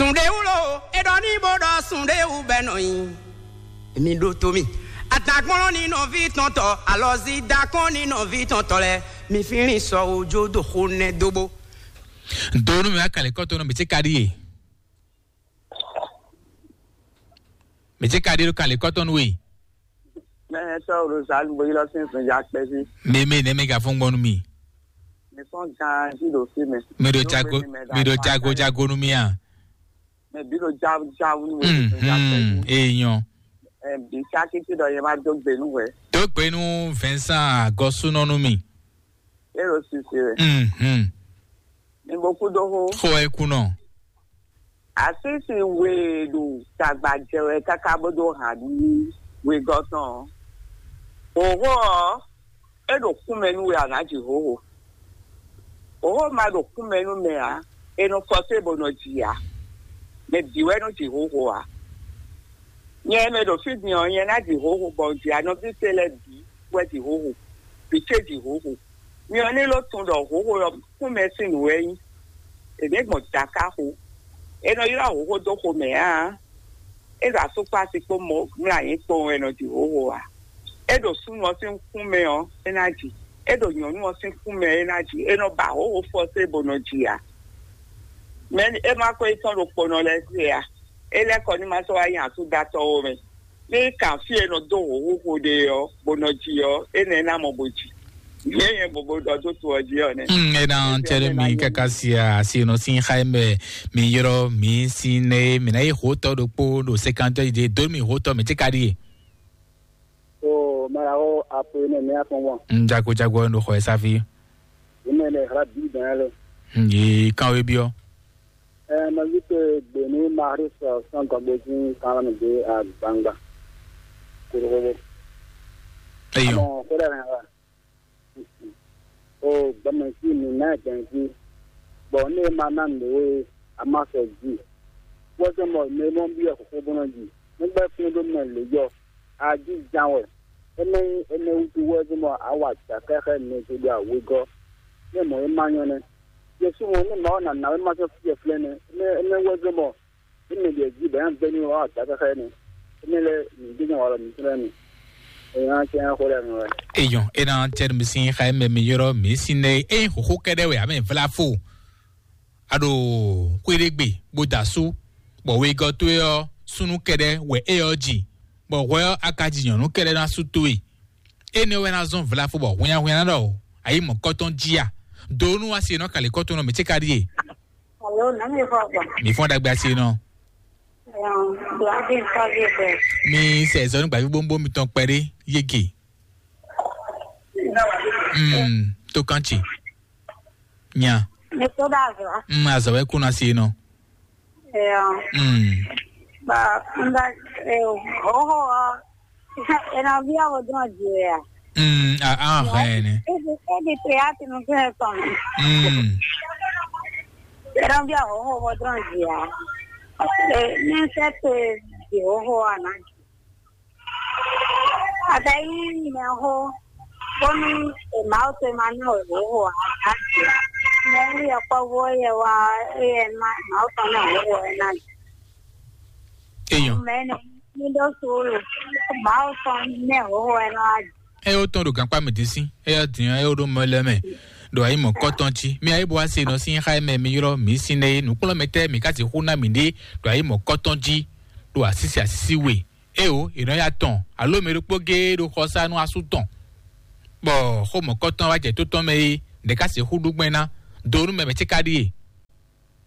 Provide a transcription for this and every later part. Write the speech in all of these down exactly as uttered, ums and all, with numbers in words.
Sundewulo, e ɖɔ ní bó ɖɔ sundewú bɛ nɔ nyi. Mi ɖo to mi. Adakpɔn ní nɔví tɔn tɔ, alɔzi dakɔn ní nɔví tɔn tɔ lɛ. Mi fínlín sɔ ojo do xo nɛ dóbó. Donu mi akalẹ kɔtɔ nɔ mi ti ka ɖi ye. Mi ti ka ɖi ɖo kalẹ kɔtɔ nu ye. Mɛ sɔ Rosalu bo yi lɔ sin sun ja kpɛ sí. Mi mi ne mi ka fún gbɔnu mi. Mi fɔn gan sí ɖo fi mɛ. Mi ɖo jago mi ɖo jago jago nu mi a. Mɛ bi ɖo ja ja wú ni wɛ ɖo ja pɛ. Mhm, èèyàn. Ɛ bi saki ti ɖɔ yɛ ma dó gbe nú wɛ. Dó gbe nú Vincent Agɔsúnɔ nú mi. E ɖo sisi wɛ. Mhm. Mi bo kú dó xó. Xó ɛ kú nɔ. Asisi we ɖo tagba jɛ wɛ káká bó dó hàn ní wegɔ́ tɔn. Hǒxo ɔ́, é ɖo kúmɛ nú we a nǎ ji hǒxo. Hǒxo ma ɖo kúmɛ nú mɛ ǎ, è nɔ fɔsé bó nɔ ji ǎ. Mɛ bǐ wɛ nɔ ji hǒxo ǎ. Nyɛ mɛ ɖo fí din ɔ́, nyɛ ná ji hǒxo bɔ un ji anɔví ce lɛ́ɛ bǐ wɛ ji hǒxo, bǐ ce ji hǒxo. Myɔ ní ló tunwun ɖɔ hǒxo ɔ́ kúmɛ sín nǔ wɛ nyí. È nǐ gbɔn jǎkáxo. È nɔ ylɔ́ hǒxo dó xomɛ ǎ. É ɖo asúkpási kpó mɔ mlɔ́ anyǐ kpowun wɛ nɔ ji hǒxo ǎ. É ɖo súnnu ɔ́ sín kún mɛ ɔ́, é ná ji. É ɖo nyɔ̌nu ɔ́ sín kún mɛ, é ná ji. É nɔ ba hǒxo fɔsé bó nɔ ji ǎ. Mɛ é má ko yi tɔn ɖo kponɔ lɛ́ɛ se ǎ. É lɛ́ kɔ ní ma sɔ́ wá nyi asúdatɔ́ ó mɛ. Ní kan fí e nɔ dó hǒxo ɖe ɔ́, bó nɔ ji ɔ́, énɛ́ ná mɔ bó ji. Yě nyɛ bobó ɖɔ dó to ɔ́ jí ɔ́ nɛ́. Mm, e na cɛɖe mi kaka sia asi nɔ sin xa mɛ mi yrɔ mi sin ne mi na yi hotɔ ɖokpo ɖo sekantɔ yi de do mi hotɔ mi ti ka ɖi ye. O mara o apo ne mi afɔn wọn. Mm, jago jago no xɔ esafi. Ime le hra bi dan le. Mm, yi kan we biɔ. Ɛ ma yi te gbe ni Maris sɔn gɔgbe jí kan mi de agbangba. Kuro. Eyɔ. Amo ko da na. O gbɛmɛ jí mi na gbɛn jí. Bɔ ne ma na nǔ e a ma sɔ jí. Wɔ sɛ mɔ ne mɔ bi ɛ xɔxɔ bɔ na jí. Ne gbɛ fún ɖo mɛ le yɔ. Aji jan wɛ. Eme eme wutu wɛ zɔn bɔ awa ja kɛxɛ ne zo ɖo awegɔ. Ne mɔ e ma nyɔ nɛ. Yesu mɔ ne Mawu na na wɛ ma sɔ fie flɛ nɛ. Eme eme wɛ zɔn bɔ eme ɖe ji bɛ yan bɛ ni wa ja kɛxɛ nɛ. Eme lɛ mi de nya wa lɔ mi flɛ nɛ. Eyan cɛ yan xɔ lɛ mi wɛ. Eyɔn, ena tɛnu mi sin xa eme mi yɔrɔ mi sin ne e xoxo kɛɖɛ wɛ ame vla fo. A ɖo xwéɖégbe bó da asú, bɔ wegɔ́ towe ɔ́, súnnu kɛɖɛ́ wɛ é ɔ́ ji, bɔ hwɛ ɔ́, a ka ji nyɔ̌nu kɛɖɛ́ ná sú towe. Énɛ́ wɛ ná zɔ́n vlafo bɔ hwinnyahwinnya ná ɖɔ ayǐ mɔ̌kɔtɔn jí a? Do nú asi e nɔ kalǐ kɔ́tɔn nɔ mǐ ce ka ɖíe. Alo, nǎ mi fɔ gbɔn. Mǐ fɔ́n ɖagbe asi e nɔ. Ɛɛ, Bladi Fɔzi bɛ. Mi sɛ zɔnu gbàgbé bóńbó mitɔn kpɛɖé yége. Mm, tó kán tsi. Nya. Mi tó ɖo azɔ. Mm, azɔ wɛ kú na si nɔ. Ɛɛ. Mm. Ba nda ɛ hoho ɔ. Ena via wo dɔn di ya. Mm, a a hɛn ne. Ebi ebi te ya tinu fún ẹ tɔn. Mm. Ena via hoho wo dɔn di ya. Ɛ ní sɛ te di hoho ana. Ata yi mɛ ho bónú Mawu tɔn ma ná wɛ hǒxo ǎ. Mɛ e yɔkpɔ́vú ɔ́ yɛ wá é yɛ ná Mawu tɔn ná hǒxo ɛ ná. Eyɔn. Mɛ ne ní ɖó suúlu, Mawu tɔn ná hǒxo ɛ ná wá. Ɛ yóò tɔn ɖo gankpá mɛ dín sín, ɛ yóò dín ɛ yóò ɖó mɔ lɛ mɛ. Ɖo ayi mɔ kɔtɔn jí, mi ayi bɔ wá se nɔ sín xá mɛ mi ylɔ́ mi sín nɛ́ é nǔkplɔ́nmɛtɛ́ mi ka sixú ná mi ɖe ɖo ayi mɔ kɔtɔn jí, ɖo asísi asísi we. Eo, è nɔ ya tɔn, alo mɛ ɖokpó géé ɖo xɔsá nú asú tɔn, bɔ xó mɔ̌kɔtɔn wá jɛ tó tɔn mɛ é, ɖě ká sixú ɖú gbɛn ná, do nú mɛ mɛ ce ka ɖíe.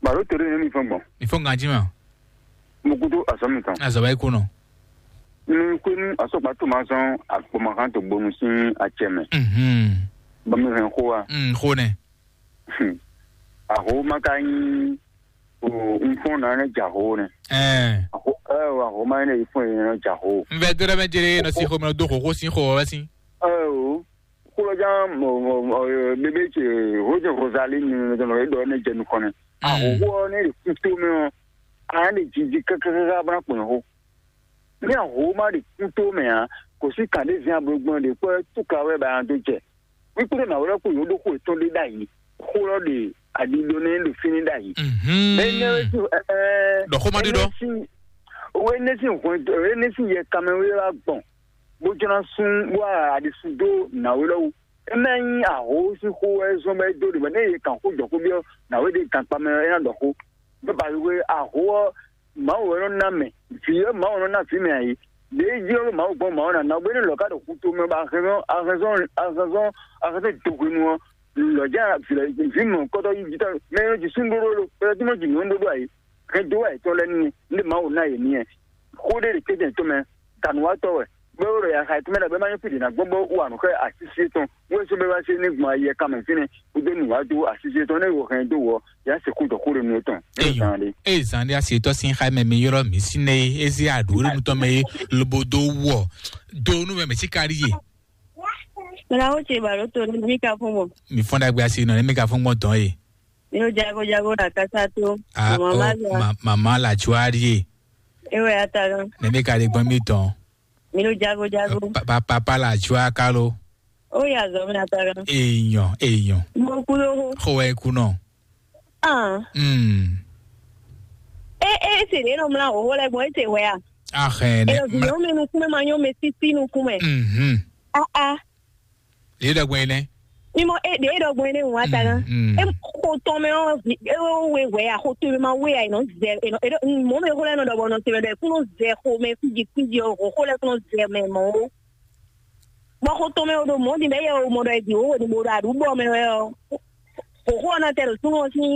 Balo tere ne mi fɛn gbɔn. Mi fɔ́n ganjí ma. Mo kudo azɔ mi tɔn. Azɔ wá yi kú nɔ. Mi kwe nu asɔgba to ma sɔn akpɔmahan to gbonu sin acɛ mɛ. Mhm. Bɔ mi hɛn xó wa. Mm, xó nɛ. Aho ma ka nyi o un fɔn na ne ja ho ne. Ɛɛ. Aho ɛ o aho ma ne fɔn ne ja ho. N vɛ dɔrɔmɛ jere nɔ si xɔ mɛ do xoxo sin xɔ wɛ sin. Ɛ o kúlɔ jan mɔ mɔ mɔ bébé ce ho jɛ Rosalie ni ne dɔn e dɔ ne jɛ nukɔn ne. Aho ho ne de kuto mɛ o a ne jiji kakakaka bana kpɔn ho. Ní aho ma de kuto mɛ a kò sí kàn de zin ablɔgbɔn de kpɔ tuka wɛ ba do jɛ. Wíkúɖé nǎ wlɛ́ kú yǒɖó xó yětɔn ɖé ɖ'ayǐ. Xó lɔ ɖe aɖiɖo nɛ́ ɖo fínɛ́ ɖ'ayǐ. Mhm. Bɛ́ nyɛ wɛ jú ɛɛ. Kpɔ́n ɖiɖɔ. Énɛ́ sín, énɛ́ sín hwɛndo, énɛ́ sín yɛ kanmɛ wé wá gbɔn, bó jló ná sún bó wá aɖisí dó nǎwe lɔ́wọ́. É ná nyí ahǒ sín xó wɛ zɔ́n bɔ é dó ɖe, bɔ nɛ́ yě kan xó jɔ xó byɔ́ nǎwe ɖé gankpá mɛ ɔ́, é ná ɖɔ xó. Bó ba wé ahǒ ɔ́, Mawu wɛ nɔ ná mɛ, vǐ ɔ́, Mawu nɔ ná vǐ mɛ ǎ é. Lě e jí ɔ́, Mawu gbɔn Mawu ná ná gbé ní lɔ̌ ká ɖo xu tomɛ bɔ ahɛnzɔ́n ahɛnzɔ́n ahɛnzɔ́n ahɛnzɔ́n do hwenu ɔ́, lɔ̌ jɛ vǐ mɔ kɔ́tɔ́ yí jǐta mɛ e nɔ ji súnɖóɖó lo, mɛ e nɔ ji nǔɖóɖó ǎ é. Hɛn dó wá yětɔn lɛ́ɛ n'i, nú Mawu ná yě n'i wɛ. Xó ɖé ɖe kéjɛ́n tɔn mɛ, dǎnúwatɔ́ wɛ, bó ɖo yaxa yětɔn mɛ ɖagbe ma nyɔ́ fí ɖě ná gbɔn bó wú anǔ xá asísí tɔn, wú é sɔ́ bó wá sé ní gbɔn ayi ɛ kanmɛ fínɛ́, kúdó nǔ wá dó asísí tɔn, nú é wo hɛn dó wɔ, yě ná sixú dɔ xó ɖé nú étɔn. Eyɔn. Eye zan ɖé asi tɔ́ sín xá mɛ mi ylɔ́ mǐ sín ée é zé aɖǔ ɖé nú tɔn mɛ é lobo dó wɔ dó nú mɛ mɛ sí kárí yé. Mla wo ce ba ɖo to ne mi ka fún bɔ. Mi fɔn ɖagbe asi nɔ ne mi ka fún gbɔn dɔn yé. Mi ɖo jago jago ɖo akasa to. Ah, mama oh, ma zɔ. Ma- mama la tsuari yé. Ewe ata gan. Ne mi ka ɖe gbɔn mi tɔn. Mi ɖo jago jago. Pa- pa- papa la tsua kalo. O ya zɔ mi ata gan. Eyɔn eyɔn. Mo ku ɖo ho. Xɔ wɛ ku nɔ. Ah. Hmm. E e se ɖe nɔ mla ho ho lɛ gbɔn e se hwɛ a. Ahɛn ne. Elo vi nyɔnu mi nukun mɛ ma nyɔ mɛ sisi nukun mɛ. Mhm. Ah ah. Lě ɖɔgbɔn é nɛ́. Mimɔ e ɖe ɖɔgbɔn é nɛ́ wá ta ná. Mm, mm. E xo tɔn mɛ ɔ́ vi e we wɛ a xo to mɛ ma we a e nɔ zɛ e nɔ e nɔ mɔ mɛ xo lɛ nɔ ɖɔ bɔ nɔ te mɛ ɖɔ e kún nɔ zɛ xo mɛ fíji fíji ɔ xo xo lɛ kún nɔ zɛ mɛ mɔ o. Bɔ xo tɔn mɛ o ɖo mɔ din bɛ yɛ o mɔ ɖɔ e di o wo ni bo ɖo aɖu bɔ mɛ wɛ ɔ. Xo xo ɔ́ na tɛ ɖo súnnu ɔ́ sín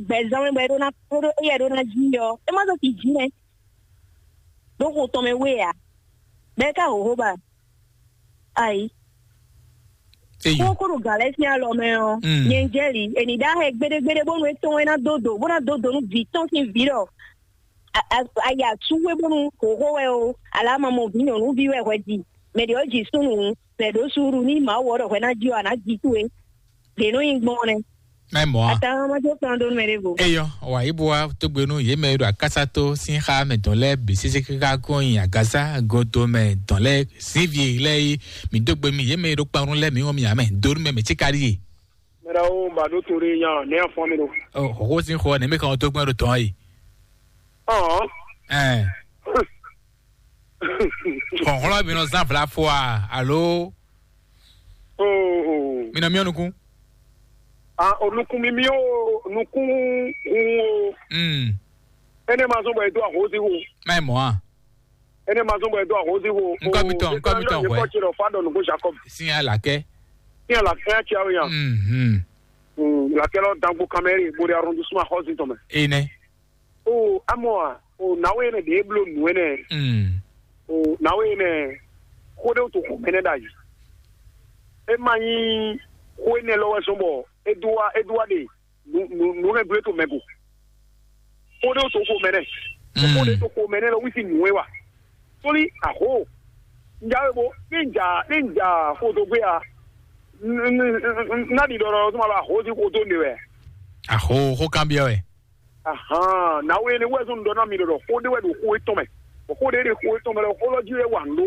gbɛzán mɛ bɔ e ɖó ná e ɖó e yɛ ɖó ná jí ɔ. E ma zɔ ti jí mɛ. Ɖó xo tɔn mɛ we a. Bɛ ka xo xo ba. Ayi. Eyi. Kókó ɖo gǎn lɛ́ɛ sín alɔ mɛ ɔ́, Mm. nyɛ jɛ li, è nǐ ɖó ahɛ gbéɖégbéɖé bónú é tɔn é ná dó dǒ, bó ná dó dǒ nú vǐ tɔn sín vǐ ɖɔ a- a- ayi asúwé bónú hǒxó wɛ o, alǎ ma mɔ vǐ nyɔ̌nuví wɛ hwɛ ji, mɛ ɖě ɔ́ ji súnnu, mɛ ɖǒ suúɖu ní Mawu ɔ́ ɖɔ hwɛ ná ji ɔ́, a nǎ ji towe. Ɖě nɔ nyi gbɔn nɛ́. Mɛ mɔ̌ a? Ata ma jó kplɔ́n dó nú mɛ ɖěvo. Eyɔ, wǎ yí bo wá tógbénú yě mɛ e ɖo akásátó sín xá mɛ dɔn lɛ́ɛ bǐ sésé káká kɔn nyi agǎsá goto mɛ dɔn lɛ́ɛ sín vi lɛ́ɛ yi. Mǐ dó gbe mì yě mɛ e ɖo kpanrún lɛ́ɛ mǐ wɔn mì ǎ mɛ dó nú mɛ mɛ cíka ɖíe. Mɛ ɖawo ba ɖó to ɖé nya nɛ afɔ mi ɖo. Ɔ, xɔxó sín xɔ nɛ̌ mɛ kan tógbɛ́n ɖo tɔn yi. Ɔn. Ɛn. Xɔxlɔ mi nɔ zan vla fɔ a alo? Oo. Mi nɔ miɔ nukun. A o nukun mi mi o nukun hun o. Mm. Ene ma zɔn bɔ e do ahozi wo. Mɛ mɔ a. Ene ma zɔn bɔ e do ahozi wo. Nkɔ mi tɔn, nkɔ mi tɔn hwɛ. Kɔ tsi lɔ fa dɔ nugo Jacob. Sin alakɛ. Sin alakɛ ya tsi awo ya. Mhm. Mm, lakɛ lɔ dangbo kamɛri bo de arrondissement ahozi tɔmɛ. Ene. O amɔ a o nawe ene de e blo nu ene. Mm. O nawe ene ko de to ko mene da yi. E ma nyi ko ene lɔ wɛ sɔn bɔ e do wa e do wa de nu nu nu ne gble to mɛ go. Ko de to ko mene. Ko de to ko mene lɔ wisi nu e wa. Soli aho. Njawe bo ni nja ni nja ko do gbe a. N- n- n- n- na di dɔrɔ suma ba ho si ko do ne wɛ. Aho ko kan biɔ wɛ. Ahan, na wo ene wɛ zɔn dɔ na mi ɖɔ xo ɖe wɛ ɖo xo etɔn mɛ. Bɔ xo ɖe ɖe xo etɔn mɛ lɔ xo lɔ ji wɛ wa ndo.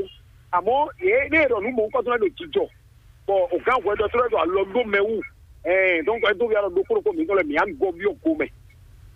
Amɔ ye ne ɖɔ nu mɔ nkɔ tɔn ɖo jijɔ. Bɔ o gan hwɛ dɔ tɔlɛ dɔ alɔ do mɛ wu. Ɛɛ, donc e do ya lɔ do kpolo ko mi tɔn lɛ mi an gɔ bi o go mɛ.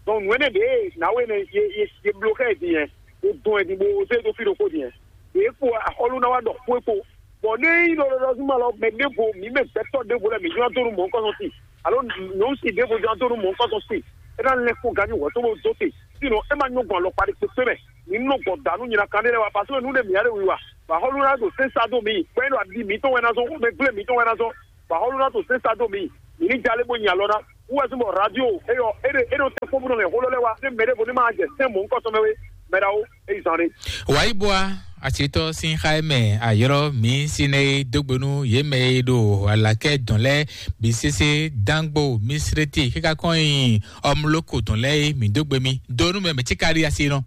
Donc nu ene de na wo ene ye ye ye blo kɛ din yɛ. O dɔn ɛ din bo se do fi ɖo ko din yɛ. Ye ko axɔlu na wa ɖɔ xo e ko. Bɔ ne yi lɔ lɔ zuma lɔ mɛ ɖevo mi mɛ gbɛtɔ ɖevo lɛ mi jɔ donu mɔ nkɔ sɔn si. Alo nyɔnu si ɖevo jɔ donu mɔ nkɔ sɔn si. E na lɛ ko ganyi wɔ to bo do te. Sino e ma nyɔ gbɔn alɔkpa ɖe kpekpe mɛ. Mi nɔ gbɔ danu nyina kan ɖe lɛ wa parce que nu ɖe mi ya ɖe wi wa. Ba xɔlu na do sesa do mi. Gbɛ ɖo adi mi tɔn wɛ na zɔn, mɛ gble mi tɔn wɛ na zɔn. Ba xɔlu na do sesa do mi. Mi ni jale bo nyi alɔ na. Wɛ zun bɔ radio eyɔ e ɖe e ɖo te kpɔn bo nɔ lɛ xɔlɔ lɛ wa. Ne mɛ ɖevo ne ma jɛ sɛn mɔ nkɔ sɔn mɛ we. Mɛ ɖawo. Eyi zan ɖe. Wǎyíbúa àṣetɔ sín xá ɛ mɛ àyɔ́rọ́ mǐ sín ɛ dógbénú yě mɛ e ɖo alakɛ dɔn lɛ́ɛ bǐ sésé dángbo mísrétí kíká kɔn nyi ɔmlókò dɔn lɛ́ɛ mǐ dógbe mì dónú mɛ mɛ cíkárí asi nɔ.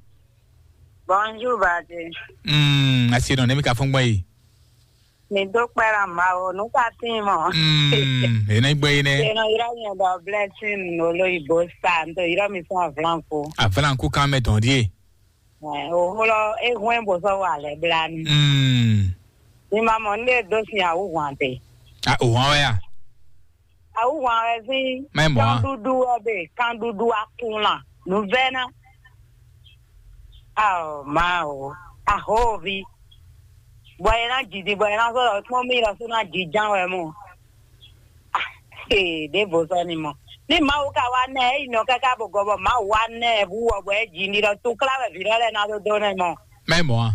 Bonjour bàdé. Mm, asi nɔ nɛmi ka fún gbɔn yi. Mi dó kpɛ́ ɖa Mawu, nǔ ka tíin mɔ. Mm, ene gbɛ yi nɛ. Eno yra mi dɔ blessing no lo ibo sa, nto ira mi fún avlanko. Avlanko kan mɛ dɔn die. Ɛ, o holo e hwɛn bo sɔ wa lɛ blani. Mm. Mi ma mɔ nde do sin awu hwan te. A o hwan wɛ ya. Awu hwan wɛ sin. Mɛ mɔ a. Kan dudu wɛ be, kan dudu akun la. Nu vɛ na. Ao Mawu, ahovi, bɔ è nǎ ji din, bɔ è nǎ sɔ́ ɖɔ kpɔ́n mì lɔ sú ná jiján wɛ mɔ. Ee, ɖěvo sɔ́ ni mɔ. Ní Mawu ka wá nɛ ɛ, é yi nɔ káká bɔ gɔbɔ Mawu wá nɛ ɛ hú wɔ bɔ é ji ní ɖɔ túnklá wɛ vǐ lɔ lɛ́ɛ ná dó dó nɛ mɔ. Mɛ mɔ̌ a?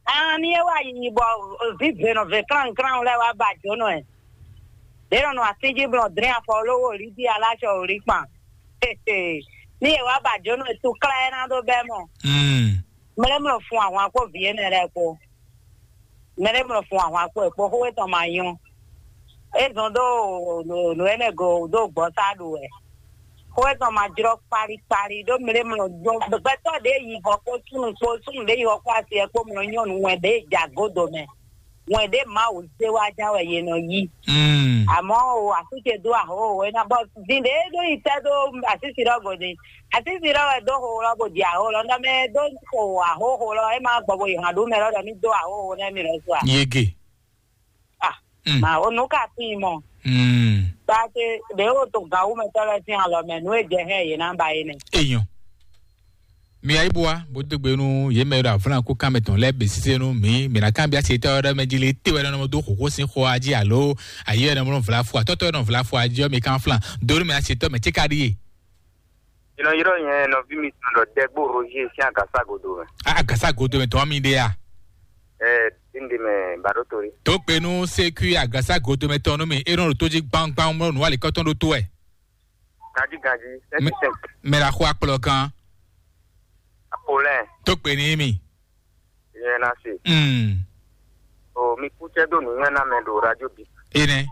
An ní é wá yi bɔ vǐ vě nɔ vě klánklán lɛ́ɛ wá ba jǒnɔ ɛ. Ɖě nɔ nɔ asíjí blɔ dlɛ́n afɔ lówó lí dí aláṣɔ ò lí kpan. Ní è wá ba jǒnɔ ɛ túnklá ɛ ná dó bɛ́ mɔ. Mm. Mlɛ́mlɔ fun ahwan kpó vǐ énɛ́ lɛ́ɛ kpó. Mɛ ɖé mlɔ fun ahwan kpó ɛ kpó xó etɔn ma nyɔ́. É zɔn dó nǔ énɛ́ go dó gbɔ sá ɖu wɛ. Xó etɔn ma jlɔ́ kpali kpali ɖó mɛ ɖé mlɔ gbɛtɔ́ ɖě yi hɔ kpó súnnu kpó súnnu ɖě yi hɔ kpó asi ɛ kpó mlɔ nyɔ́nu wɛn ɖě ja godo mɛ. Wɛn ɖě Mawu zé wá ján wɛ yě nɔ yí. Mm. Àmọ́ o, àsúce dó ahó o, é ná bɔ din ɖě ɖó yi tɛ́ dó asísi ɖɔ́ gode. Asísi ɖɔ́ wɛ dó xo lɔ bó di ahó lɔ, nɔ mɛ dó xo ahó xo lɔ, é má gbɔ bó yi hàn ɖó mɛ lɔ ɖɔ mí dó ahó xo nɛ mí lɔ so a. Yege. Ah, Mm. Ma o nǔ ka tín mɔ. Mm. Ba ce ɖě o to gǎwú mɛ tɔ́ lɛ́ɛ sín alɔ mɛ, nǔ e jɛ hɛn yě ná ba é nɛ. Èèyàn. Mi ayíbúwa bó dó gbe nú yě mɛ e ɖo avlán kú kán mɛ tɔn lɛ́ɛ bǐ sésé nú mǐ, mǐ ná kanbyá se tɔ́ ɖɔ mɛ jí lé téwɛ nɔ mɔ dó xǒxó sín xó a jí alo ayé wɛ nɔ mɔ vla fo atɔ́tɔ́ wɛ nɔ vla fo a jí ɔ́, mi kán flán dó nú mɛ asetɔ́ mɛ céka ɖíe. Jìnnà yrɔ́ nyɛ nɔví mitɔn ɖɔ Dɛgbó Roger sín agasa godo mɛ. A- agasa godo mɛ tɔn mi ɖe a? Ɛ, dín ɖe mɛ ba ɖó torí. Tó gbe nú sékú agasa godo mɛ tɔn nú mi, é nɔ ɖo tó jí gbangban mɔ nǔ alikɔtɔn ɖó tó wɛ. Ganjí ganjí, Mɛ- sɛnti sɛnti. Mɛ la xo akplɔ kan. Apolɛn. Tó gbe ní mi. Yẹn na se. Mm. O mi kú cɛ dó nǔnywɛ́ ná mɛ ɖo radio bi. Ene.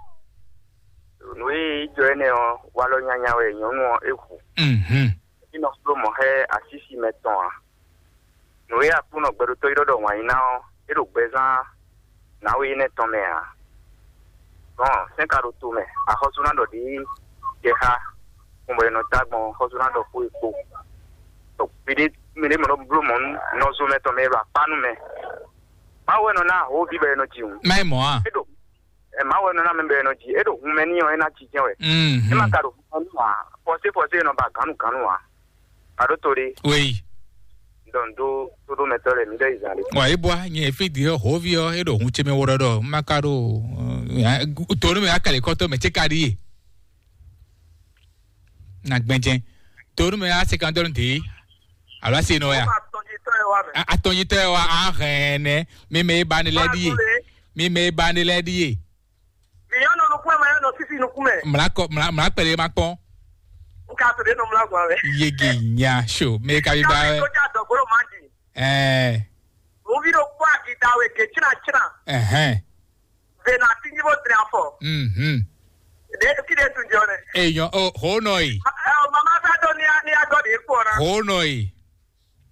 Nǔ e jɔ énɛ́ ɔ́, walɔ nyanya wɛ nyɔ̌nu ɔ́ é hu. Mhm. Ínɔ fló mɔ̌ xá asísi mɛ tɔn ǎ. Nǔ e Aklúnɔ gbɛɖotɔ́ ylɔ́ ɖɔ wǎn yí ná ɔ́, é ɖo gbɛzán nǎwe énɛ́ tɔn mɛ ǎ. Gbɔn sɛ́n ka ɖo to mɛ, axɔ́sú ná ɖɔ ɖě jɛ xá, kún bɔ è nɔ dó agbɔn, axɔ́sú ná ɖɔ xó e kpo. Ɖɔ gbeɖé mɛ ɖé mɛ nɔ bló mɔ̌ nú nɔzo mɛ tɔn mɛ e ɖo akpá nú mɛ. Mawu wɛ nɔ ná ahoví bɔ è nɔ ji hǔn. Má nyí mɔ̌ a? É ɖo ɛ Mawu wɛ nɔ ná mɛ bɔ è nɔ ji. É ɖo hun mɛ n'i ɔ́, é ná jijɛ wɛ. É má Mhm. ka ɖo hun mɛ n'i ǎ. Fɔsé fɔsé è nɔ ba gǎnnu gǎnnu ǎ. Aɖó to ɖé. Wéyi. Dɔn dó tóɖómɛtɔ́ lɛ́ɛ mi ɖɔ yi zan ɖé. Wa yi bwa nyɛ fi di ɔ hovi ɔ e ɖo hun ce mɛ wo ɖɔ ɖɔ ma ka ɖo to nu mɛ akali kɔtɔ mɛ ce ka ɖi ye. Na gbɛnjɛ to nu mɛ a se kan dɔrɔn de alo a se nɔ ya. Atɔnjitɔ yɛ wa mɛ. Atɔnjitɔ yɛ wa a hɛn nɛ mi mɛ e ba ne lɛ ɖi ye. Mi mɛ e ba ne lɛ ɖi ye. Mi yɔ nɔ nukun mɛ, yɔ nɔ sisi nukun mɛ. Mla kɔ mla mla kpɛlɛ ma kpɔn. N ka to de nɔ mla gba mɛ. Yege nya so mɛ ka bi ba wɛ. Ko ja dɔgbolo ma di. Ɛɛ. Mo vi ɖo kpɔ akita we ke tsina tsina. Ɛhɛn. Ve na ti nyi bo dre afɔ. Mhm. De ki de tun jɔ ne. Eyɔn o ho nɔ yi. Ɛ o mama sa do ni a ni a dɔ de kpɔ na. Ho nɔ yi.